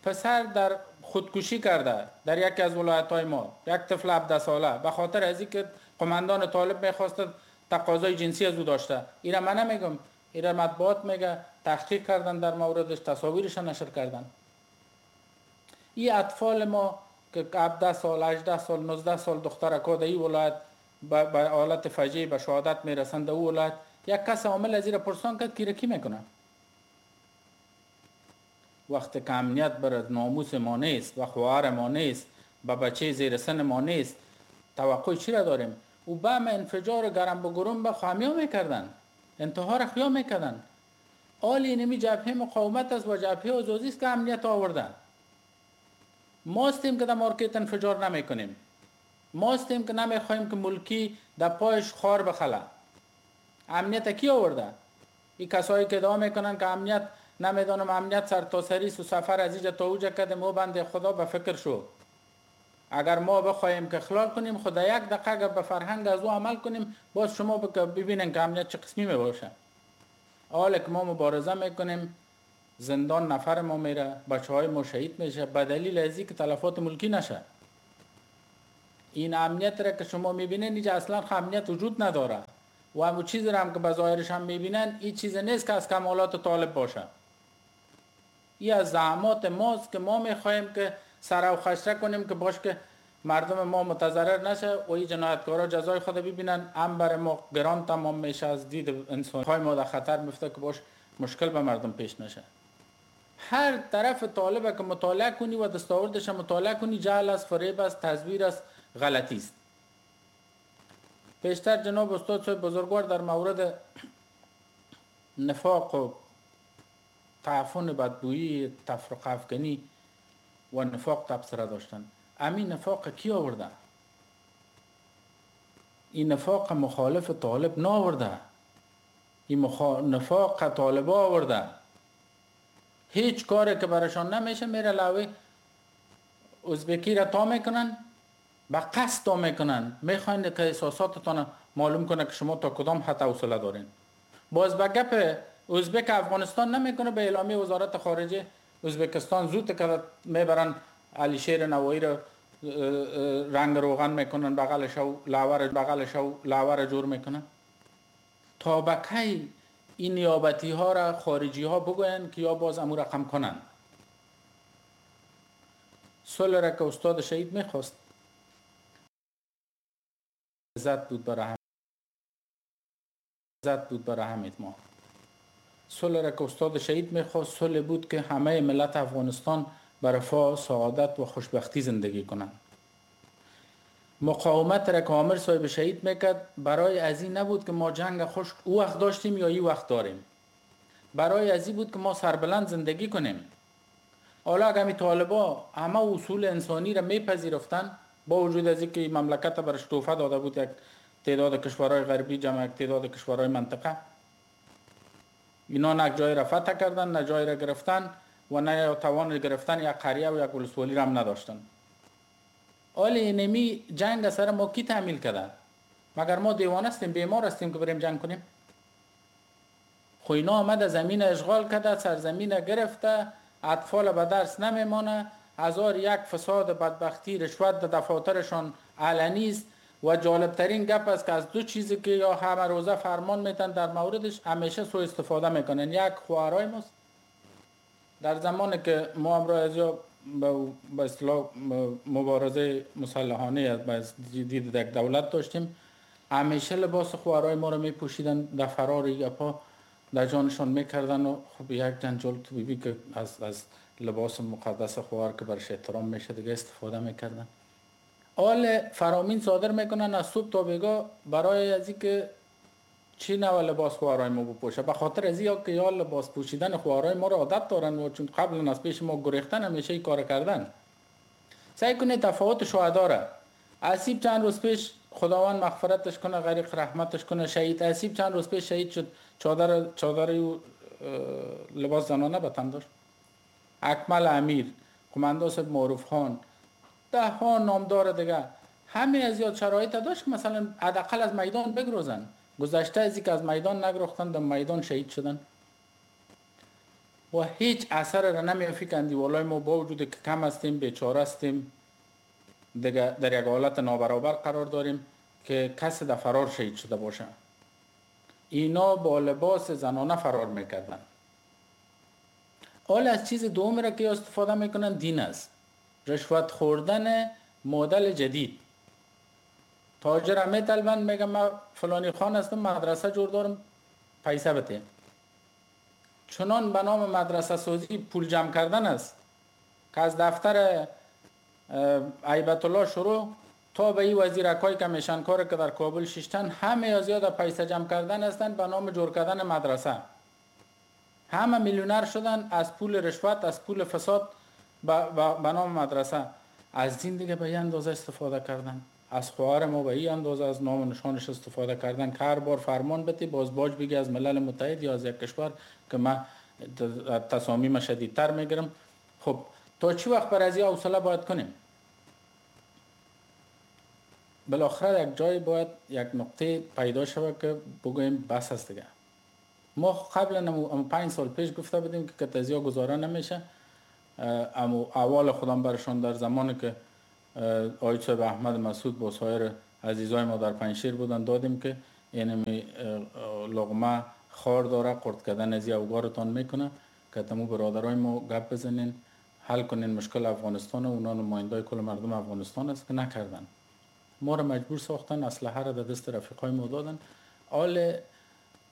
Speaker 5: پسر در خودکشی کرده در یکی از ولایت‌های ما، یک طفل هفده ساله، به خاطر از اینکه قماندان طالب میخواست تقاضای جنسی از او داشته. اینا من نمیگم، اینا مطبوعات میگه، تحقیق کردن در موردش، تصاویرش نشر کردن. این اطفال ما که هفده سال، هجده سال، نوزده سال دخترکا در این ولایت به حالت فجیع به شهادت میرسند، او ولایت یک کس عامل از این پرسان کرد کی کی میکنه؟ وقتی که امنیت بر ناموس ما نیست و خواهر ما نیست و بچه زیر سن ما نیست، توقع چی را داریم؟ او بم انفجار گرم به گرم به خامیا میکردن، انتحار خیا میکردن. آلی نمی جبهه مقاومت است و جبهه آزادی است که امنیت آوردن. ما هستیم که در مارکت انفجار نمیکنیم، ما هستیم که نمیخوایم که ملکی در پایش خار بخله. امنیت کی آورده؟ این کسایی که ادعا میکنن که امنیت نمیدانم امنیت سرتاسری است و سفر از اینجا تا اوجا کردیم، او بنده خدا به فکر شو. اگر ما بخوایم که خلال کنیم، خدا یک دقیقه اگر به فرهنگ از او عمل کنیم، باز شما ببینن که امنیت چه قسمی میباشه. حالا که ما مبارزه میکنیم، زندان نفر ما میره، بچه های ما شهید میشه، به دلیل از که تلفات ملکی نشه. این امنیت را که شما میبینین اینجا اصلا امنیت وجود نداره و همون چیز را هم که به ظاهرش هم میبینن این چیز نیست که از کمالات طالب باشه. این از زحمات ماست که ما میخواهیم که سر و خشره کنیم که باش که مردم ما متضرر نشه و این جنایتکارا جزای خود ببینن. هم بر ما گران تمام میشه، از دید انسان های ما در خطر میفته که باش مشکل به مردم پیش نشه. هر طرف طالب که مطالعه کنی و دستاوردش مطالعه کنی، جهل است، فریب است، تزویر است، غلطی است. پیشتر جناب استاد صاحب بزرگوار در مورد نفاق و تعفن بدبویی، تفرقه افکنی و نفاق تبصره داشتن. امین نفاق کی آورده؟ این نفاق مخالف طالب نآورده، این مخا... نفاق طالب آورده. هیچ کاری که برشان نمیشه میره لاوی ازبکی را تا میکنن، به قصد تا میکنن، میخواین که احساساتتان معلوم کنه که شما تا کدام حد حوصله دارین. باز به گپ ازبک افغانستان نمیکنه، به اعلامیه وزارت خارجه ازبکستان زود که میبرن علی شیر نوایی را رنگ روغن میکنن، بغلش و لاور بغلش و لاور جور میکنن. تا به کی این نیابتی ها را خارجی ها بگوین که یا باز امو رقم کنن؟ صلح را که استاد شهید میخواست عزت بود برای هم عزت بود برای همه ما. صلح را که استاد شهید میخواست صلح بود که همه ملت افغانستان بر رفاه، سعادت و خوشبختی زندگی کنند. مقاومت را که عامر صاحب شهید میکرد برای از این نبود که ما جنگ خشک او وقت داشتیم یا این وقت داریم، برای از این بود که ما سربلند زندگی کنیم. حالا اگر طالبا همه اصول انسانی را میپذیرفتن، با وجود از اینکه مملکت برش توفه داده بود یک تعداد کشورهای غربی جمع یک تعداد کشورهای منطقه، اینا نه جای را فتح کردن، نه جای را گرفتن و نه توان گرفتن یک قریه و یک ولسوالی را هم نداشتن. حالا اینمی جنگ سر ما کی تحمیل کرده؟ مگر ما دیوانه هستیم، بیمار هستیم که بریم جنگ کنیم؟ خو اینا آمده زمین اشغال کرده، سرزمین گرفته، اطفال به درس نمیمانه، هزار یک فساد، بدبختی، رشوت در دفاترشان علنی است. و جالبترین گپ است که از دو چیزی که یا همه روزه فرمان میتن در موردش همیشه سوء استفاده میکنن. یک خوارای ماست. در زمانی که ما امرای از یا به اصطلاح مبارزه مسلحانه از دید یک دولت داشتیم، همیشه لباس خوارای ما رو میپوشیدن، در فرار گپا در جانشان میکردن و خب یک جنجال تو بیبی که از, از لباس مقدس خوار که برش احترام میشه دیگه استفاده میکردن. آل فرامین صادر میکنن از صبح تا بیگاه برای از اینکه چی نوع لباس خوارای ما بپوشه، به خاطر از اینکه یا لباس پوشیدن خوارای ما رو عادت دارن و چون قبلا از پیش ما گریختن همیشه این کار کردن. سعی کنید تفاوت شهدا را. اسیب چند روز پیش خداوند مغفرتش کنه، غریق رحمتش کنه، شهید اسیب چند روز پیش شهید شد، چادر چادر لباس زنانه به تن داشت. اکمل امیر، قماندان معروف خان، ده ها نامدار دیگه، همه از یاد شرایط داشت که مثلا حداقل از میدان بگروزن. گذشته از اینکه از میدان نگرختن، در میدان شهید شدن و هیچ اثر را نمیافی که اندیوالای ما با وجود که کم هستیم، بیچاره هستیم، دیگه در یک حالت نابرابر قرار داریم که کسی در فرار شهید شده باشه. اینا با لباس زنانه فرار میکردن. حالا از چیز دوم را که استفاده میکنن دین است. رشوت خوردن مدل جدید. تاجر همه طلبن میگه من فلانی خان هستم، مدرسه جور دارم، پیسه بده. چنان به نام مدرسه سازی پول جمع کردن است که از دفتر عیبت الله شروع تا به این وزیرکای کمیشنکار که در کابل ششتن، همه از یاد پیسه جمع کردن هستند به نام جور کردن مدرسه. همه میلیونر شدن از پول رشوت، از پول فساد به نام مدرسه. از دین دیگه به این اندازه استفاده کردن، از خواهر ما به این اندازه از نام و نشانش استفاده کردن که هر بار فرمان بده باز باج بگی از ملل متحد یا از یک کشور که من تصامیم شدیدتر میگیرم. خب تا چی وقت بر از این حوصله باید کنیم؟ بالاخره یک جای باید یک نقطه پیدا شود که بگوییم بس است دیگه. ما قبلا پنج سال پیش گفته بودیم که کتزیا گزاره نمیشه، اما اول خودم برشان در زمانی که آقای صاحب احمد مسعود با سایر عزیزای ما در پنجشیر بودن دادیم که اینمی لقمه خار داره، قرد کردن از اوگارتان میکنه که تمو برادرای ما گپ بزنین حل کنین مشکل افغانستان و اونا نمایندای کل مردم افغانستان است که نکردن. ما را مجبور ساختن، اسلحه را در دست رفیقای ما دادن. حال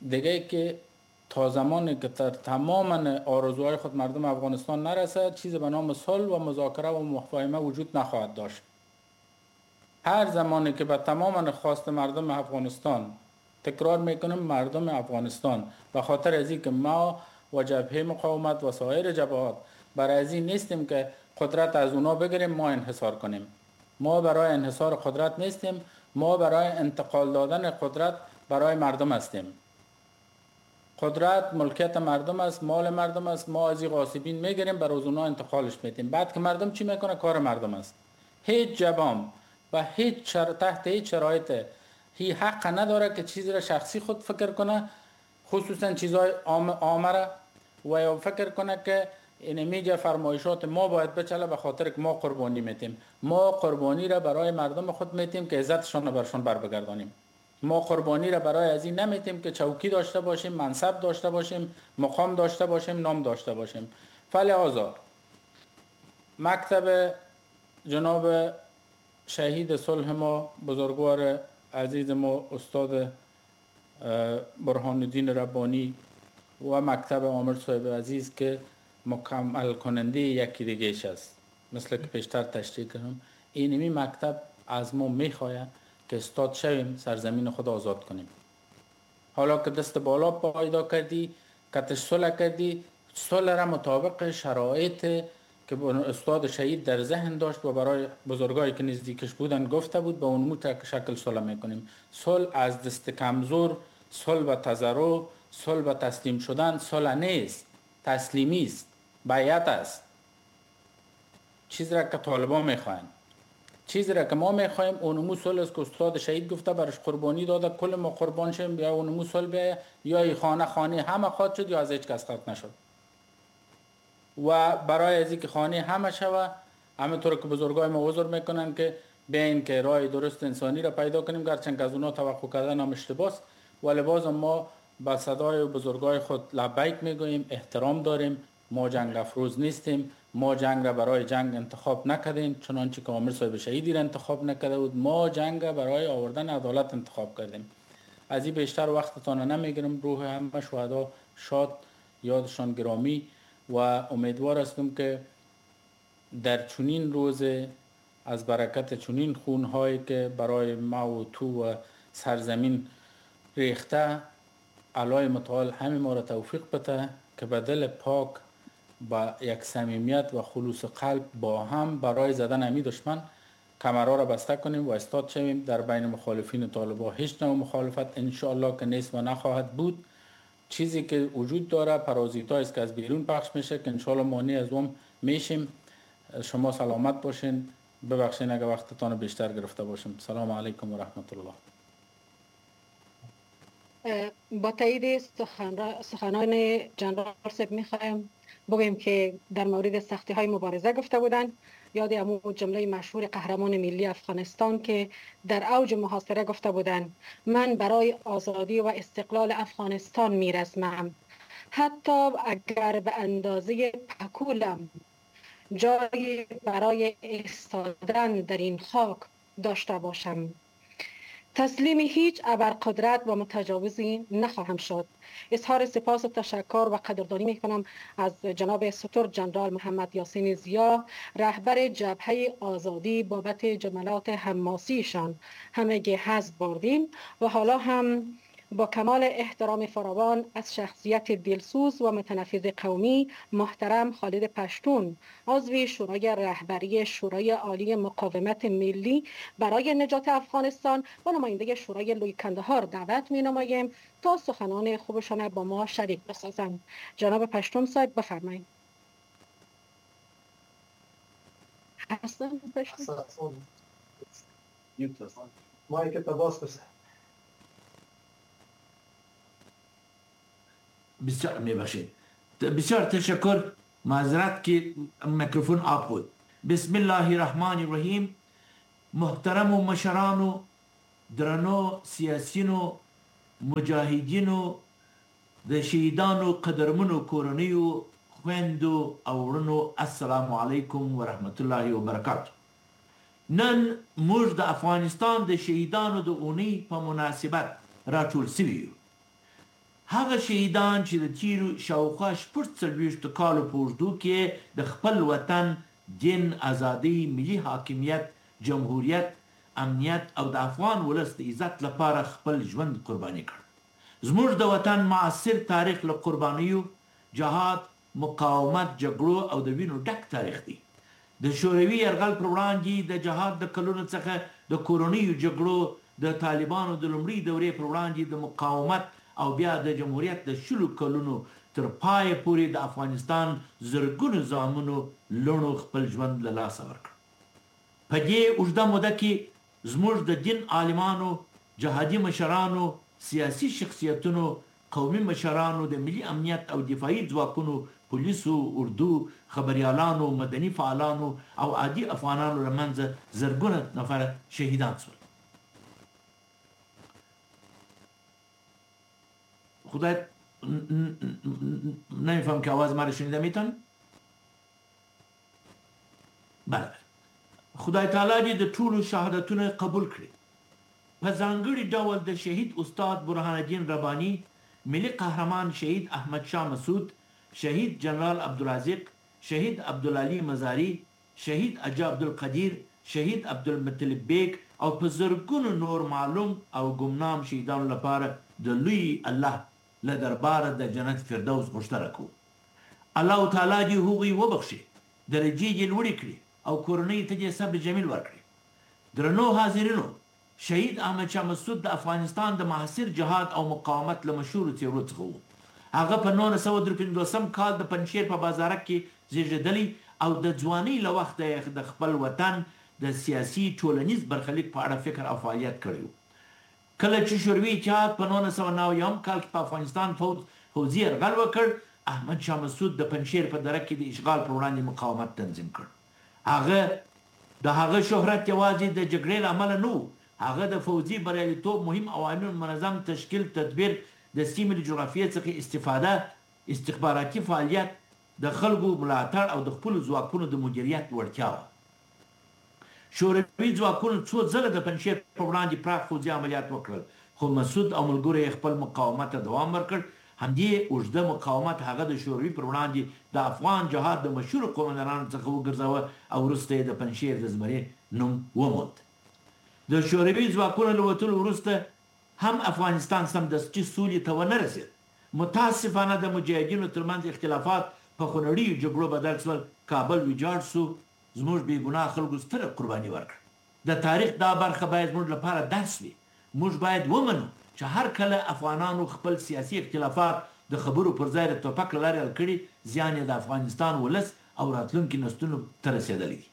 Speaker 5: دیگه که تا زمانی که در تمام آرزوهای خود مردم افغانستان نرسه چیز به نام صلح و مذاکره و مفاهمه وجود نخواهد داشت. هر زمانی که به تمام خواست مردم افغانستان، تکرار میکنم مردم افغانستان، به خاطر از اینکه ما و جبهه مقاومت و سایر جبهات برای از این نیستیم که قدرت از اونا بگیریم ما انحصار کنیم. ما برای انحصار قدرت نیستیم، ما برای انتقال دادن قدرت برای مردم هستیم. قدرت ملکیت مردم است، مال مردم است، ما از این غاصبین میگیریم بر از اونا انتقالش میدیم. بعد که مردم چی میکنه کار مردم است. هیچ جبام و هیچ شر... تحت هیچ شرایط هی حق نداره که چیزی را شخصی خود فکر کنه، خصوصا چیزهای عامه را، و یا فکر کنه که این میگه فرمایشات ما باید بچله به خاطر که ما قربانی میتیم. ما قربانی را برای مردم خود میتیم که عزتشان را برشان بر بگردانیم. ما قربانی را برای از این نمیتیم که چوکی داشته باشیم، منصب داشته باشیم، مقام داشته باشیم، نام داشته باشیم. فلهذا مکتب جناب شهید صلح ما، بزرگوار عزیز ما استاد برهان الدین ربانی و مکتب عامر صاحب عزیز که مکمل کننده یکی دیگهش است، مثل که پیشتر تشریح کردم، اینمی مکتب از ما میخواید که استاد شویم، سرزمین خود آزاد کنیم. حالا که دست بالا پیدا کردی، کتش صلح کردی، صلح را مطابق شرایط که استاد شهید در ذهن داشت و برای بزرگایی که نزدیکش بودن گفته بود، به اونمو شکل صلح میکنیم. صلح از دست کمزور، صلح و تضرع، صلح و تسلیم شدن صلح نیست، تسلیمی است، بیعت است. چیزی را که طالبان میخواهند، چیزی را که ما میخواهیم اونمو صلح است که استاد شهید گفته، برش قربانی داده، کل ما قربان شیم، یا اونمو صلح بیایه یا ای خانه خانه همه خواد شد یا از هیچ کس خواد نشد. و برای از اینکه خانه همه شوه، همه طور که بزرگای ما عذر میکنن که بیاین که راه درست انسانی را پیدا کنیم، گرچند که از اونا توقع کردن هم اشتباهه، ولی بازم ما با صدای بزرگای خود لبیک میگوییم، احترام داریم. ما جنگ افروز نیستیم، ما جنگ را برای جنگ انتخاب نکردیم، چنانچه که عامر صاحب شهیدی را انتخاب نکرده بود، ما جنگ را برای آوردن عدالت انتخاب کردیم. از این بیشتر وقتتان نمیگیرم. روح همه شهدا شاد، یادشان گرامی، و امیدوار هستم که در چنین روز از برکت چنین خونهایی که برای ما و تو و سرزمین ریخته، علای متعال همه ما را توفیق بده که به دل پاک، با یک صمیمیت و خلوص قلب با هم برای زدن امی دشمن کمرها را بسته کنیم و استاد شویم. در بین مخالفین طالبا هیچ نوع مخالفت انشاءالله که نیست و نخواهد بود. چیزی که وجود داره پرازیتا است که از بیرون پخش میشه که انشاءالله مانع از اون میشیم. شما سلامت باشین، ببخشین اگه وقتتان بیشتر گرفته باشم. سلام علیکم و رحمت الله.
Speaker 12: با تایید سخنان جنرال صاحب میخوایم بگوییم که در مورد سختی های مبارزه گفته بودند. یاد امو جمله مشهور قهرمان ملی افغانستان که در اوج محاصره گفته بودند: من برای آزادی و استقلال افغانستان میرسمم، حتی اگر به اندازه پکولم جایی برای ایستادن در این خاک داشته باشم. تسلیم هیچ ابرقدرت و متجاوزی نخواهم شد. اظهار سپاس و تشکر و قدردانی میکنم از جناب ستور جنرال محمد یاسین ضیا، رهبر جبهه آزادی، بابت جملات حماسیشان. همگی حظ بردیم و حالا هم با کمال احترام فراوان از شخصیت دلسوز و متنفذ قومی محترم خالد پشتون، عضو شورای رهبری شورای عالی مقاومت ملی برای نجات افغانستان و نماینده شورای لوی کندهار دعوت می نماییم تا سخنان خوبشان با ما شریک بسازند. جناب پشتون صاحب بفرمایید. هستن پشتون؟
Speaker 13: مایک تا باز بسه.
Speaker 14: بسیار میبخشید، بسیار تشکر، معذرت که میکروفون آب بود. بسم الله الرحمن الرحیم. محترمو مشرانو، درنو سیاسیونو، مجاهدینو، د شهیدانو قدرمنو کورنیو، خویندو او وړونو، السلام علیکم ورحمت الله وبرکاته. نن موږ د افغانستان د شهیدانو د اونۍ په مناسبت راټول سوي یو. هغه شهیدان چې د تیرو شاوخوا شپږ څلوېښتو کالو په اوږدو کې د خپل وطن، دین، ازادۍ، ملي حاکمیت، جمهوریت، امنیت او د افغان ولس د عزت لپاره خپل ژوند قرباني کړ. زموږ د وطن معاصر تاریخ له قربانیو، جهاد، مقاومت، جګړو او د وینو ډک تاریخ دی. د شوروي یرغل پر وړاندې د جهاد د کلونو څخه د کورنیو جګړو، د طالبانو د لومړۍ دورې پر وړاندې د مقاومت او بیا د جمهوریت د شلو کلونو تر پایه پورې د افغانستان زرګونو زامنو لوڼو خپل ژوند له لاسه ورکړ. په دې اوږده موده کې زموږ د دین عالمانو، جهادي مشرانو، سیاسي شخصیتونو، قومي مشرانو، د ملي امنیت او دفاعي ځواکونو، پولیسو، اردو، خبریالانو، مدني فعالانو او عادي افغانانو له منځه زرګونه نفره شهیدان شول. خدای نمیفهم که آواز مرا شنیده میتون؟ بله. خدای تعالی دې د ټولو شهادتونه قبول کړي. په ځانګړي ډول د شهید استاد برهان الدین رباني، ملي قهرمان شهید احمد شاه مسعود، شهید جنرال عبدالرازق، شهید عبدالعلي مزاري، شهید اجا عبدالقدیر، شهید عبدالمطلب بیگ او په زرګونو نور معلوم او ګمنام شهیدانو لپاره د لوی الله له درباره د جنت فردوس غوښتنه کوو. الله تعالی دې هغوی وبخښي، درجې دې لوړې کړي او کورنۍ ته دې صبر جمیل ورکړي. درنو حاضرینو، شهید احمد شاه مسعود د افغانستان د معاصر جهاد او مقاومت له مشهورو څېرو څخه و. هغه په نولس سوه درې پنځوسم کال د پنجشیر په بازارک کې زیږېدلی او د ځوانۍ له وخته یې د خپل وطن د سیاسي ټولنیز برخلیک په اړه فکر او فعالیت کړی و. کله چې شوروي اتحاد په نولس سوه نهه یوم کال کې په افغانستان فوځ فوځي یرغل وکړ، احمد شاه مسعود د پنجشیر په دره کې د اشغال پر وړاندې مقاومت تنظیم کړ. هغه د هغه شهرت یوازې د جګړې له امله نه و، هغه د فوځي بریالیتوب مهم عوامل منظم تشکیل، تدبیر، د سیمې له جغرافیې څخه استفاده، استخباراتي فعالیت، د خلکو ملاتړ او د خپلو ځواکونو د مدیریت وړتیا وه. شوروي ځواکونو څو ځله د پنجشیر په وړاندې پراخ فوځي عملیات وکړل، خو مسعود او ملګرو یې خپل مقاومت ته دوام ورکړ. همدې اوږده مقاومت هغه د شوروي پر وړاندې د افغان جهاد د مشهورو قومندانانو څخه وګرځاوه او وروسته یې د پنجشیر د زمري نوم وموند. د شوروي ځواکونو له وتلو وروسته هم افغانستان سمدستي سولې ته ونه رسېد. متاسفانه د مجاهدینو ترمنځ اختلافات په خونړیو جګړو بدل شول، کابل ویجاړ شو، زموږ بې ګناه خلکو ستره قرباني ورکړه. د تاریخ دا برخه باید زموږ لپاره درس وي. موږ باید ومنو چې هر کله افغانانو خپل سیاسي اختلافات د خبرو پر ځای د ټوپک له لارې حل کړي، زیان یې د افغانستان ولس او راتلونکي نسلونو ته رسېدلی دی.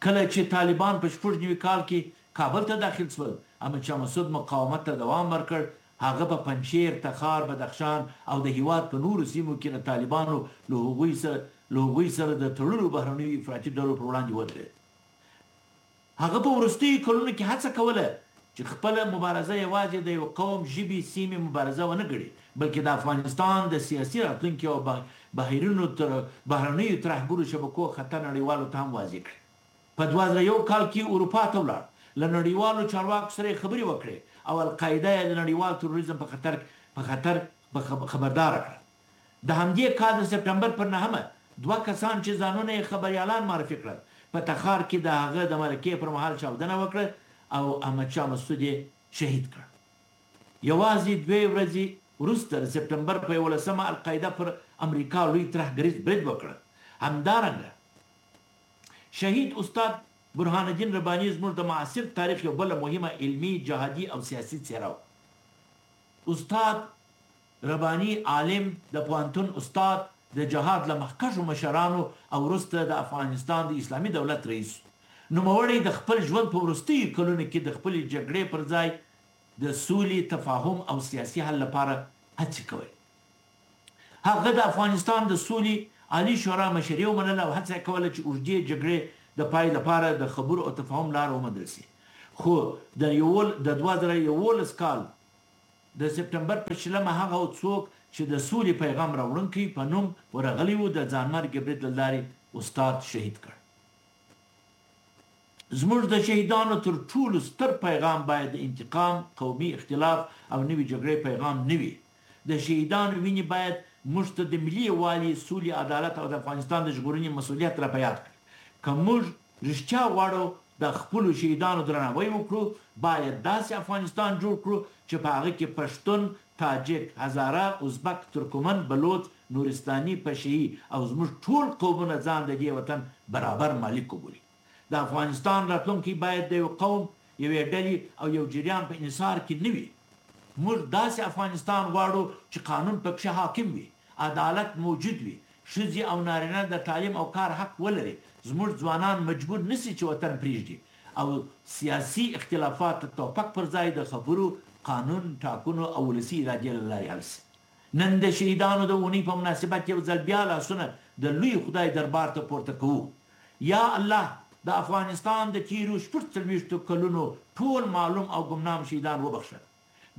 Speaker 14: کله چې طالبان په شپږ نوي کال کې کابل ته داخل شول، احمد شاه مسعود مقاومت ته دوام ورکړ. هغه په پنجشیر، تخار، بدخشان او د هیواد په نورو سیمو کې د طالبانو له هغوی سره له هغوی سره د تړلو بهرنیو افراطي ډلو پر وړاندې ودرېد. هغه په وروستیو کلونو کې هڅه کوله چې خپله مبارزه یوازې د یو قوم، ژبې، سیمې مبارزه ونه ګڼي، بلکې د افغانستان د سیاسي راتلونکي او بهرنیو تر بهرنیو ترهګرو شبکو خطر نړیوالو ته هم واضح کړي. په دوه زره یو کال کې اروپا ته ولاړ، له نړیوالو چارواکو سره یې خبرې وکړې او القاعده یې د نړیوال تروریزم په خطر په خطر خبرداره کړه. د همدې کال د سپټمبر پر نهمه دوه کسان چې ځانونه یې خبریالان معرفي کړل، په تخار کې د هغه د مرکې پر مهال چاودنه وکړه او احمد شاه مسعود یې شهید کړ. یوازې دوې ورځې وروسته د سپټمبر په یولسمه القاعده پر امریکا لوی ترهګریز برید وکړ. همدارنګه شهید استاد برهان الدین رباني زموږ د معاصر تاریخ یو بله مهمه علمي، جهادي او سیاسي څېره وه. استاد رباني عالم، د پوهنتون استاد، د جهاد له مخکښو مشرانو او وروسته د افغانستان د اسلامي دولت رئیس. نوموړی د خپل ژوند په وروستیو کلونو کې د خپلې جګړې پر ځای د سولې، تفاهم او سیاسي حل لپاره هڅې کولې. هغه د افغانستان د سولې عالي شورا مشري ومنله او هڅه یې کوله چې اوږدې جګړې د پای لپاره د خبرو او تفاهم لاره وموندل شي. خو د د دوه زره یوولس کال د سپټمبر په شلمه هغه څوک چې د سولې پیغام راوړونکی په نوم ورغلی و، د ځانمرګي برید له لارې استاد شهید کړ. زموږ د شهیدانو تر ټولو ستر پیغام باید د انتقام، قومي اختلاف او نوې جګړې پیغام نه وي. د شهیدانو وینې باید موږ ته د ملي یووالي، سولې، عدالت او د افغانستان د ژغورنې مسوولیت را په یاد کړي. که موږ رښتیا غواړو د خپلو شهیدانو درناوی وکړو، باید داسې افغانستان جوړ کړو چې په هغه کې پښتون، تاجک، هزاره، ازبک، ترکمن، بلوڅ، نورستاني، پشهيي او زموږ ټول قومونه ځان د دې وطن برابر مالک وبولي. د افغانستان راتلونکی باید د یو قوم، یوې ډلې او یو جریان په انحصار کې نه وي. موږ داسې افغانستان غواړو چې قانون پکښې حاکم وي، عدالت موجود وي، ښځې او نارینه د تعلیم او کار حق ولري، زموږ ځوانان مجبور نه شي چې وطن پرېږدي او سیاسي اختلافات د توپک پر ځای د خبرو، قانون، ټاکنو او ولسي ارادې له لارې حل شي. نن د شهیدانو د اونۍ په مناسبت یو ځل بیا لاسونه د لوی خدای دربار ته پورته کوو. یا الله، د افغانستان د تیرو شپږ څلوېښتو کلونو ټول معلوم او ګمنام شهیدان وبخښه.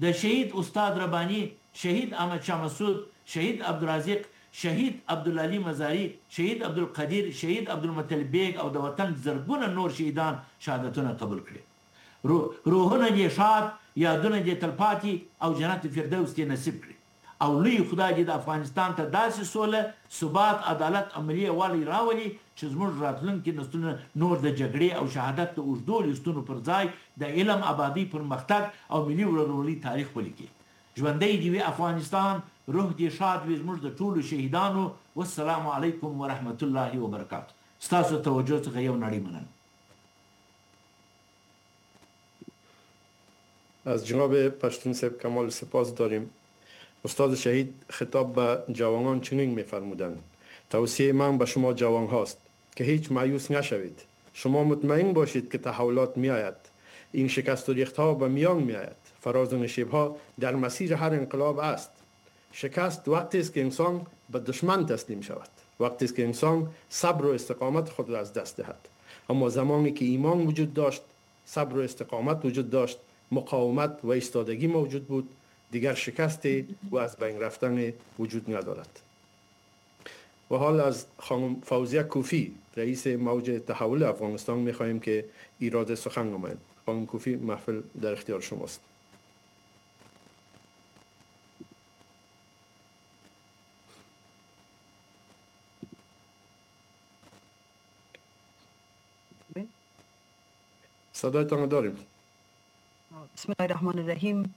Speaker 14: د شهید استاد رباني، شهید احمد شاه مسعود، شهید عبدالرازق، شهید عبدالعلي مزاري، شهید عبدالقدیر، شهید عبدالمطلب بیګ او د وطن زرګونه نور شهیدان شهادتونه قبول کړي. روحونه دې ښاد، یادونه دې تلپاتې او جنت فردوس دې نصیب کړي. او لوی خدای دې د افغانستان ته داسې سوله، ثبات، عدالت او ملي یووالی راولي چې زموږ راتلونکي نسلونه نور د جګړې او شهادت د اوږدو لیستونو پر ځای د علم، ابادۍ، پرمختګ او ملي ورورولۍ تاریخ ولیکي. ژوندی دې وي افغانستان، روح دې ښاد وي زموږ د ټولو شهیدانو. والسلام علیکم ورحمت الله وبرکاته. ستاسو توجه څخه یو نړۍ مننه.
Speaker 2: از جناب پشتون صاحب کمال سپاس داریم. استاد شهید خطاب به جوانان چنین می‌فرمودند: توصیه من به شما جوان هاست که هیچ مایوس نشوید. شما مطمئن باشید که تحولات می‌آید. این شکست و ریخت‌ها به میان می‌آید. فراز و نشیب‌ها در مسیر هر انقلاب است. شکست وقتی است که انسان به دشمن تسلیم شود، وقتی است که انسان صبر و استقامت خود را از دست دهد. اما زمانی که ایمان وجود داشت، صبر و استقامت وجود داشت، مقاومت و ایستادگی موجود بود، دیگر شکست و از بین رفتن وجود ندارد. و حال از خانم فوزیه کوفی، رئیس موج تحول افغانستان، میخواهیم که ایراد سخن نمایند. خانم کوفی، محفل در اختیار شماست. صدایتان داریم.
Speaker 13: بسم الله الرحمن الرحیم.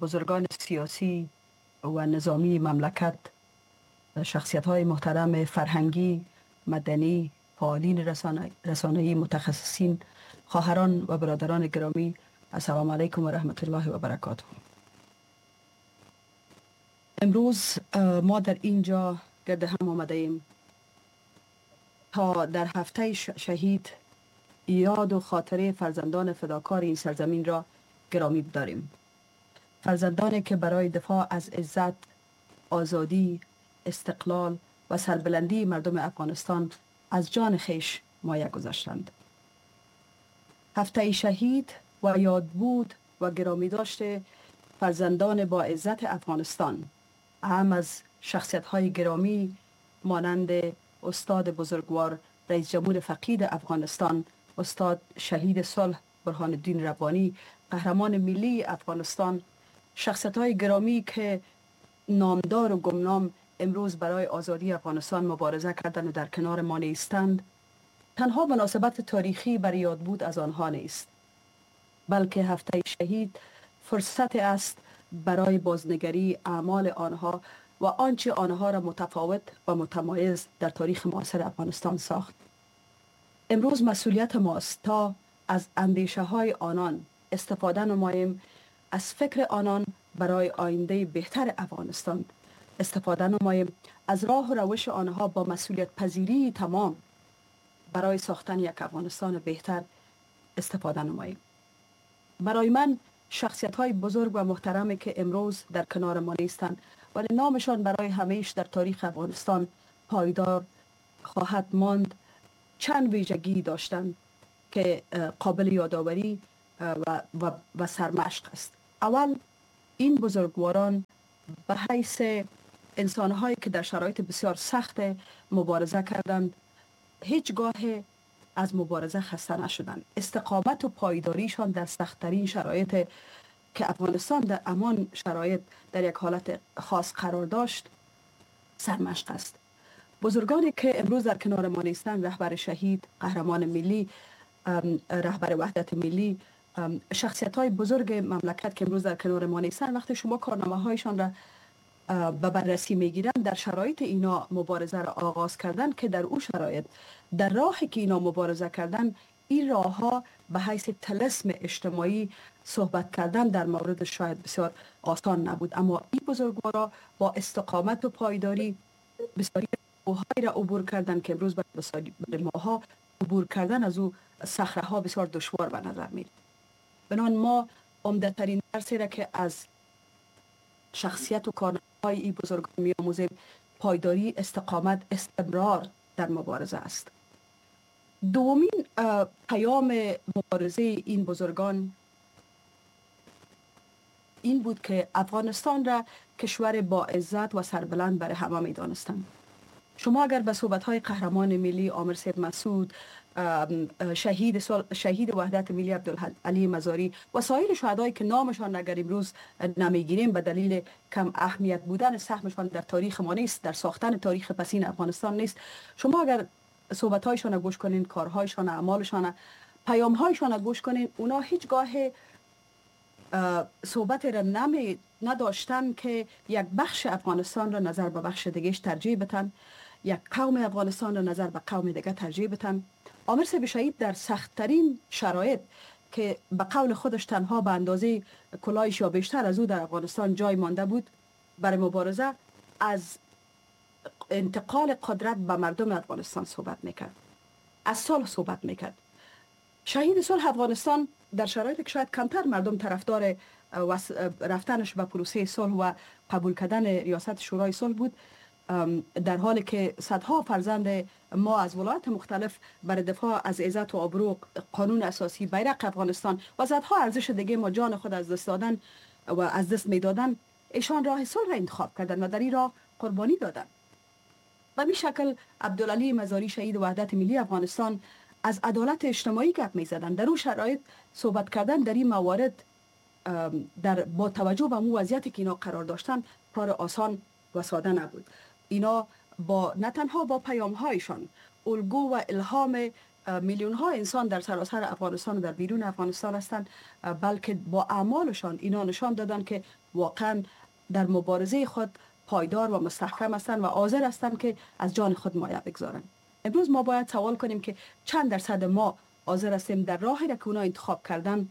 Speaker 13: بزرگان سیاسی و نظامی مملکت، شخصیت های محترم فرهنگی، مدنی، فعالین رسانه‌ای، متخصصین، خواهران و برادران گرامی، السلام علیکم و رحمت الله و برکاته. امروز ما در اینجا گرد هم آمده ایم تا در هفته شهید یاد و خاطره فرزندان فداکار این سرزمین را گرامی بداریم. فرزندانی که برای دفاع از عزت، آزادی، استقلال و سربلندی مردم افغانستان از جان خویش مایه گذاشتند. هفته شهید و یادبود و گرامی داشت فرزندان با عزت افغانستان، اعم از شخصیت‌های گرامی مانند استاد بزرگوار رئیس جمهور فقید افغانستان، استاد شهید صلح برهان الدین ربانی، قهرمان ملی افغانستان، شخصیت‌های گرامی که نامدار و گمنام امروز برای آزادی افغانستان مبارزه کردند و در کنار ما نیستند، تنها مناسبت تاریخی بر یاد بود از آنها نیست، بلکه هفته شهید فرصت است برای بازنگری اعمال آنها و آنچه آنها را متفاوت و متمایز در تاریخ معاصر افغانستان ساخت. امروز مسئولیت ماست تا از اندیشه های آنان استفاده نماییم، از فکر آنان برای آینده بهتر افغانستان استفاده نماییم، از راه و روش آنها با مسئولیت پذیری تمام برای ساختن یک افغانستان بهتر استفاده نماییم. برای من شخصیت های بزرگ و محترمی که امروز در کنار ما نیستند ولی نامشان برای همیش در تاریخ افغانستان پایدار خواهد ماند، چند ویژگی داشتند که قابل یادآوری و, و, و سرمشق است. اول، این بزرگواران به حیث انسانهایی که در شرایط بسیار سخت مبارزه کردند، هیچگاه از مبارزه خسته نشدند. استقامت و پایداریشان در سختترین شرایط که افغانستان در امان شرایط در یک حالت خاص قرار داشت سرمشق است. بزرگانی که امروز در کنار ما نیستند، رهبر شهید، قهرمان ملی، رهبر وحدت ملی، شخصیت های بزرگ مملکت که امروز در کنار ما نیستند، وقتی شما کارنامه هایشان را به بررسی میگیرن، در شرایط اینا مبارزه را آغاز کردن که در او شرایط، در راهی که اینا مبارزه کردن، این راه ها به حیث طلسم اجتماعی صحبت کردن در مورد شاید بسیار آسان نبود، اما این بزرگوارا با استقامت و پایداری بسیاری کوه‌هایی را عبور کردن که امروز برای ماها عبور کردن از او صخره ها بسیار دشوار به نظر میاد. بنان ما عمده ترین درسی را که از شخصیت و کارنامه‌های این بزرگان می‌آموزیم، پایداری، استقامت، استمرار در مبارزه است. دومین پیام مبارزه این بزرگان این بود که افغانستان را کشور با عزت و سربلند برای همه می‌دانستند. شما اگر به صحبت‌های قهرمان ملی عامر صاحب مسعود، شهید شهید وحدت ملی عبدالعلی مزاری و سایر شهدایی که نامشان اگر امروز نمیگیریم به دلیل کم اهمیت بودن سهمشان در تاریخ ما نیست، در ساختن تاریخ پسین افغانستان نیست، شما اگر صحبت‌هایشان را گوش کنین، کارهایشان، اعمالشان، پیام‌هایشان را گوش کنین، اونا هیچگاه صحبت را نمی نداشتن که یک بخش افغانستان را نظر به بخش دیگهش ترجیح بدن، یک قوم افغانستان را نظر به قوم دیگه ترجیح بدن. عامر صاحب شهید در سختترین شرایط که به قول خودش تنها به اندازه کلاهش یا بیشتر از او در افغانستان جای مانده بود برای مبارزه، از انتقال قدرت به مردم افغانستان صحبت میکرد، از صلح صحبت میکرد. شهید صلح افغانستان در شرایطی که شاید کمتر مردم طرفدار رفتنش به پروسه صلح و قبول کردن ریاست شورای صلح بود، در حالی که صدها فرزند ما از ولایات مختلف برای دفاع از عزت و آبرو، قانون اساسی، بیرق افغانستان و صدها ارزش دیگه ما جان خود از دست دادن و از دست میدادن، ایشان راه صلح را انتخاب کردن و در این راه قربانی دادن. به می شکل عبدالعلی مزاری شهید وحدت ملی افغانستان از عدالت اجتماعی گپ میزدن. در اون شرایط صحبت کردن در این موارد در با توجه به مو وضعیتی که اینا قرار داشتن کار آسان و ساده نبود. اینا با نه تنها با پیام هایشان الگو و الهام میلیون ها انسان در سراسر افغانستان و در بیرون افغانستان هستند، بلکه با اعمالشان اینا نشان دادن که واقعا در مبارزه خود پایدار و مستحکم هستند و حاضر هستند که از جان خود مایه بگذارند. امروز ما باید سوال کنیم که چند درصد ما حاضر هستیم در راهی را که اونا انتخاب کردن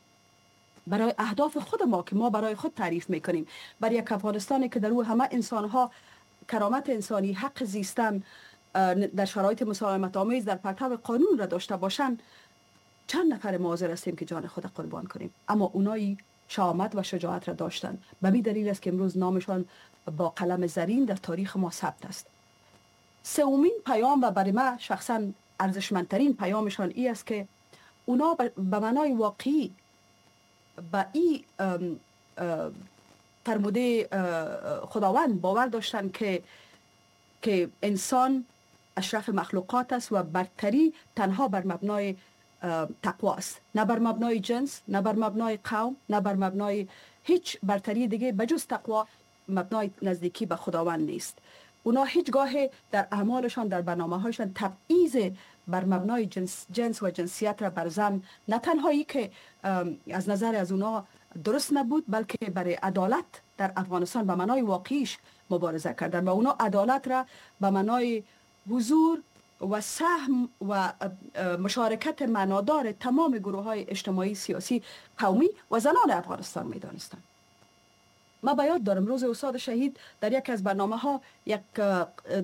Speaker 13: برای اهداف خود ما که ما برای خود تعریف میکنیم، برای یک افغانستانی که در او همه انسانها کرامت انسانی، حق زیستن در شرایط مسالمت آمیز در پرتو قانون را داشته باشند، چند نفر ما حاضر هستیم که جان خود قربان کنیم؟ اما اونایی شهامت و شجاعت را داشتند. به می دلیل است که امروز نامشان با قلم زرین در تاریخ ما ثبت است. سومین پیام و برای من شخصا ارزشمندترین پیامشان ای است که اونا به معنای واقعی به این فرموده خداوند باور داشتند که که انسان اشرف مخلوقات است و برتری تنها بر مبنای تقوا است، نه بر مبنای جنس، نه بر مبنای قوم، نه بر مبنای هیچ برتری دیگه بجز تقوا، مبنای نزدیکی به خداوند نیست. اونا هیچگاه در اعمالشان، در برنامه‌هایشان تبعیض بر مبنای جنس, جنس و جنسیت را بر زن نه تنهایی که از نظر از اونا درست نبود، بلکه برای عدالت در افغانستان به معنای واقعیش مبارزه کردن و اونا عدالت را به معنای حضور و سهم و مشارکت معنادار تمام گروه های اجتماعی، سیاسی، قومی و زنان افغانستان می دانستند. ما به یاد دارم روز استاد شهید در یک از برنامه ها یک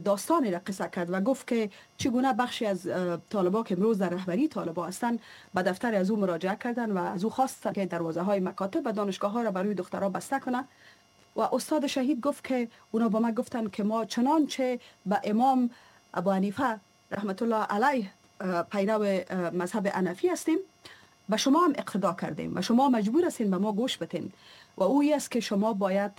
Speaker 13: داستانی را قصه کرد و گفت که چگونه بخشی از طالبا که امروز در رهبری طالبا هستند به دفتر از او مراجعه کردن و از او خواستن که دروازه های مکاتب و دانشگاه ها را برای دخترها بسته کنه. و استاد شهید گفت که اونا با ما گفتن که ما چنانچه به امام ابو حنیفه رحمت الله علیه پیرو مذهب حنفی هستیم، به شما هم اقتدا کردیم و شما مجبور هستین به ما گوش بتین و اوی است که شما باید